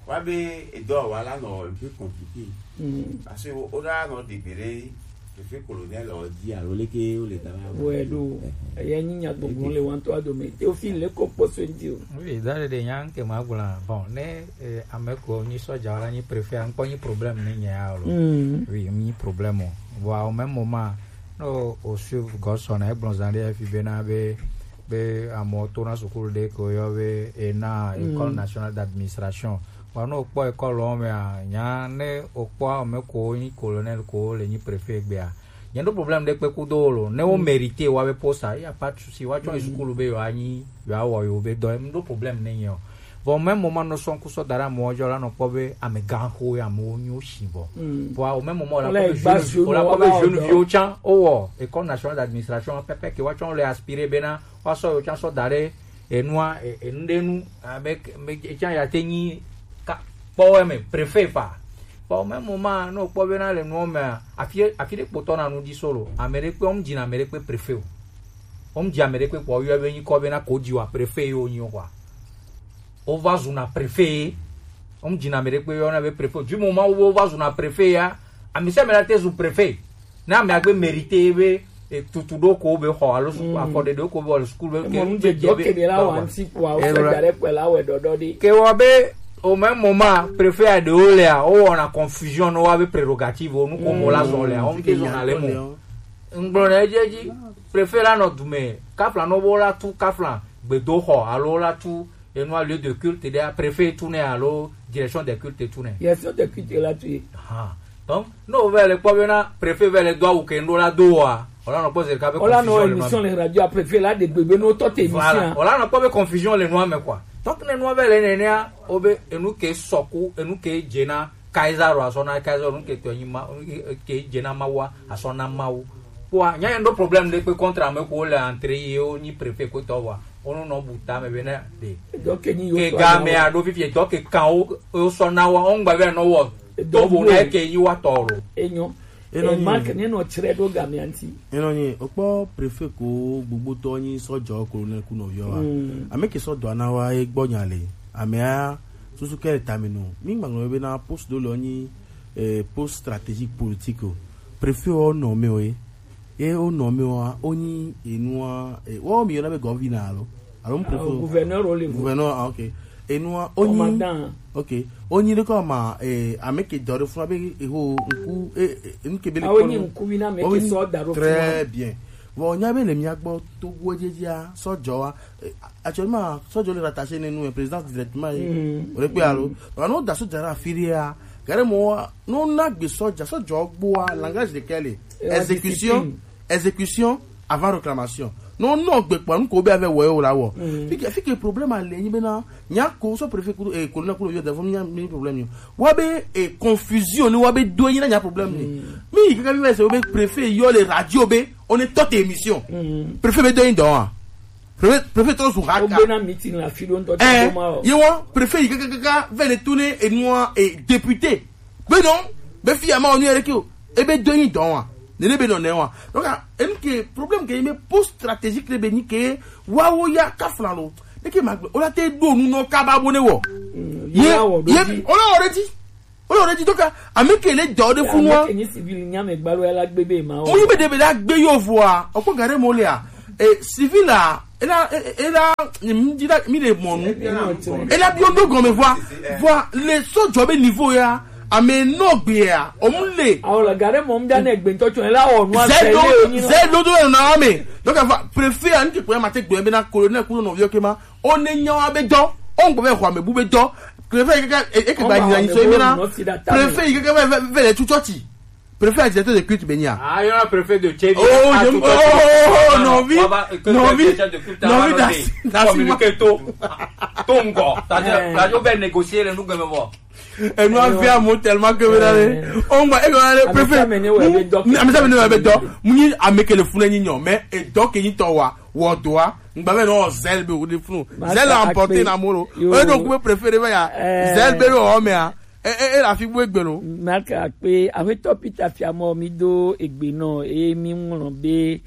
wa be edɔ wa la nɔ un peu compliqué. Mm. Parce que o, o la nɔ degbe ɖe Préfet colonel ɔ dzi alo leke wo le da la. Wɛ ɖo. Eya nyi nyagbɔgblɔ le wantɔ adome. Teofil le ko kpɔ so ŋdi o. Oui, da ɖe nya nke ma gblɔ. Bon, ne, eh, ame ko nyi sɔdza la nyi préfet, ankpɔ nyi problème ne nya ya lo. Mm. Oui, nyi problème o. Bon, au même moment, no o suivre Godson na egblɔ zan ɖe fi be na be, be amewo to na sukulu ɖe ko yɔ be ena, mm, École nationale d'administration. Vɔ ne wòkpɔ école mea, nya ne wòkpɔ ame ko nyi colonel ko le nyi préfet gbea, nye ɖo problème ɖe kpe kudo wo lo. Ne wo mérité wa be poste, il y a pas de souci. Wa tsɔ yi sukulu be yewoa nyi, yewoa wɔ yewo be dɔ, m ɖo problème ne nye o. Vɔ même moment nɔ sɔn kusɔ da ɖe amewo dzɔ la nɔ kpɔ be amegã xo ye amewo nyo si vɔ. Vɔa au même moment la kpɔ be jeune, la kpɔ be jeune viwo tsã wo wɔ école nationale d'administration pɛpɛ ke wa tsɔ le aspirer bena wa sɔ yewo tsã sɔ da ɖe enua, e, enu ɖe nu, abe, me, etsã ya te nyi ka, kpɔwɛ me, préfet pa. Bon, même moment, no kpɔ bena le nuɔ mea, afi, afi ɖe kpotɔ na nu di solo. Ame ɖe kpe, wɔm dzina ame ɖe kpe préfet o. Wɔm dzi ame ɖe kpe kpɔ, yɔ be nyi kɔ bena ko dzi wa préfet yo nyi o kɔa. O va zu na préfet. Wɔm dzina ame ɖe kpe yɔ na be préfet o. Du moment wo va zu na préfet ya, ami se me la te zu préfet. Na amea gbe mérité be, e, tutu ɖo ko be xɔ alo suku, mm, afɔ ɖeɖe ko be wɔ le sukulu be ke nu dze be la wa nti kua o se da ɖe kpe la wɛ ɖɔɖɔ ɖi. Ke wɔ be au même moment préfet a ɖewo lea, wo wɔna confusion no wa be prérogative o nu ko mo la zɔ lea, wo te zɔ na le mo. Ngblɔ na edzi edzi, préfet la nɔ dume, kafla no bo la tu kafla gbedoxɔ alo la tu enua lieu de culte ɖe préfet tu ne alo direction des cultes tu ne. Direction des cultes la tu. Aha. Donc, no vɛ le kpɔ bena préfet vɛ le do awu ke ndo la do wa. Ola nɔ kpɔ zerika be confusion le ma. Ola nɔ émission le radio a préfet la de gbegbe no tɔ te émission. Voilà. Ola nɔ kpɔ be confusion le nua me quoi. Donc ne nua vɛ le nenea, o be enu ke sɔku, enu ke dze na Kaiser o asɔ na Kaiser, enu ke tɔ nyi ma, ke dze na Mawu a asɔ na Mawu. Kpɔa, nya ye ɖo problème ɖe kpe contre ame ko le entrée ye wo nyi préfet ko tɔ wa. Wo no nɔ bu ta me be ne de. Donc ni yo ke ga me a ɖo fifi, donc kan wo, wo sɔ na wa, wo ŋgba be no wo. Do bu na ke yi wa tɔ lo. Enyo. Eno e ni Mark ne no tsre ɖo ga me anti. Eno ni, o kpɔ préfet ko gbogbo tɔ nyi sɔdzɔ ko ne ku no yo wa. Mm. Ame ke sɔ dɔ na wa e gbɔ nya le. Ame a susu ke ta me no. Mi ngba nglo be na poste do lo nyi, eh, poste stratégique politique o. Préfet o nɔ me o e. Ye wo nɔ mi wa, wo nyi enua, e, wo mi yɔna be gɔvina alo, alo mu préfet. Gouverneur wo le. Gouverneur, ah, ok. Enua, wo nyi. Commandant. Ok. Wo nyi ɖe kɔ ma, e, ame ke dɔ ɖe funa be, e, ho, ŋku, e, e, ŋke be le. Ah, wo nyi ŋku wi na ame ke sɔ da ɖo funa. Très bien. Bon, nya be le mia gbɔ to wo dzedzia, sɔ dzɔ wa. E, actuellement, sɔ dzɔ le rattaché ne nous, président directement, e, o le pe alo. Ba no da sɔ dzara firia. Gare mo, no na gbe sɔ dza, sɔ dzɔ gboa, langage de quel est? Exécution, exécution avant réclamation. Non, non, gbe kpa nu ko be ave wo la wo. Fike, fike problème a le nyi bena, nya ko so préfet ko, e, colonel ko yo devant nya mi problème yo. Wa be, e, confusion ni wa be do nyi na nya problème ni. Mi kaka mi se be préfet yo le radio be, on est toute émission. Préfet be do nyi don. Préfet, préfet to su haka. O be na meeting la fi do nto. Eh, ye wa, préfet yi kaka, kaka, ve le tourner et moi, et député. Be non, be fi ama onu yere ki o. E be do nyi don wa. Ne ɖe be nɔ nɛ wa. Donc, ah, enu ke problème ke me post stratégique ɖe be ni ke wa wo ya ka flan lo. Ne ke ma gbe, o la te do nu no kaba bo ne wo. Ye, ye, o la already. O la already. Donc, ah, ame ke le dɔ de funu wa. Ke ni civil nya me gbalo ya la gbe be ma o. Mo yi be de be la gbe yo vo a. O ko gare mo le a. E civil a, e la, e, e la, mi di la, mi le mo nu. E la bi o do gɔme vo a. Vo a, le so jɔ be niveau ya. Ame nɔ gbe ya. O mu le. Awo la gare mo mda ne gbe ntɔ tso la o nu a. Zɛ do, zɛ do do na ame. Donc, ah, préfet a ni ke ko ya ma te gbe be na colonel ku no vieux ke ma. O ne nya wa be dɔ. O ngbe be ho ame bu be dɔ. Préfet ke ke, e ke ba ni so mi na. Préfet ke ke ve, ve, ve le tu church. Préfet a directeur de culte be nya. Ah, il y a un préfet de Tchévi. Oh, je, oh, oh, oh, oh, non, vi, non, vi, non, vi, das, das, communiqué to, to ngɔ. C'est-à-dire, radio va négocier les nous, bon. Et nous, on fait un mot tellement que vous allez, on va, et on a le préfet. Amisa me ne va be dɔ. Muni ameke le funu ni nyo, mais et donc il t'envoie, wa doa. Ngba me no zel be wo de funu. Zel a emporté na moro. Et donc, vous préférez va ya. Zel be o me a. E, e, e la fi bu egbe lo. Mark Akpe, Aƒetɔ Peter Fiamɔ, mi do egbe nɔ, eye mi ŋlɔ be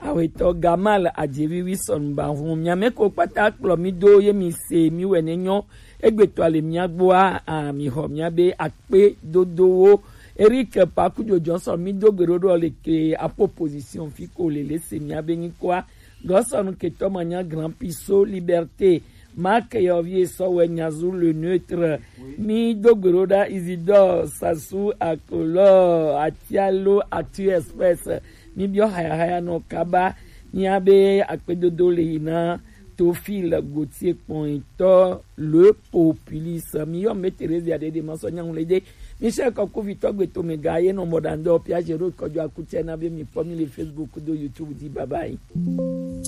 Aƒetɔ Gamal Adjevi Wilson ba ŋu. Miame ko kpata kplɔ mi do ye mi se mi wɛ ne nyɔ. Egbetɔ le mia gbɔa, a, mi xɔ mia be akpe dodowo. Eric Pakujo Johnson, mi do gbe ɖo ɖo le ke a proposition fi ko le le se mia be nyikoa. Gɔsɔnu ketɔ manya Grand Piso Liberté. Marc Yɔvie Sɔwɛ Nyazu le neutre. Mi do gbe ɖo ɖa Isidore Sassou Akolo Atialo Atu Express. Mi biɔ haya haya nɔ kaba. Mia be akpedodo le yi na Tofil Gautier kpɔnyitɔ le populiste. Mi yɔ me Theresia ɖe ɖe ma sɔ nyaŋu le ɖe. Michel Kɔkuvitɔ gbe to me ga ye nɔ mɔ ɖa ŋdɔ Pia Jero kɔjɔ akutsɛ na be mi kpɔ mi le Facebook do YouTube di bye bye.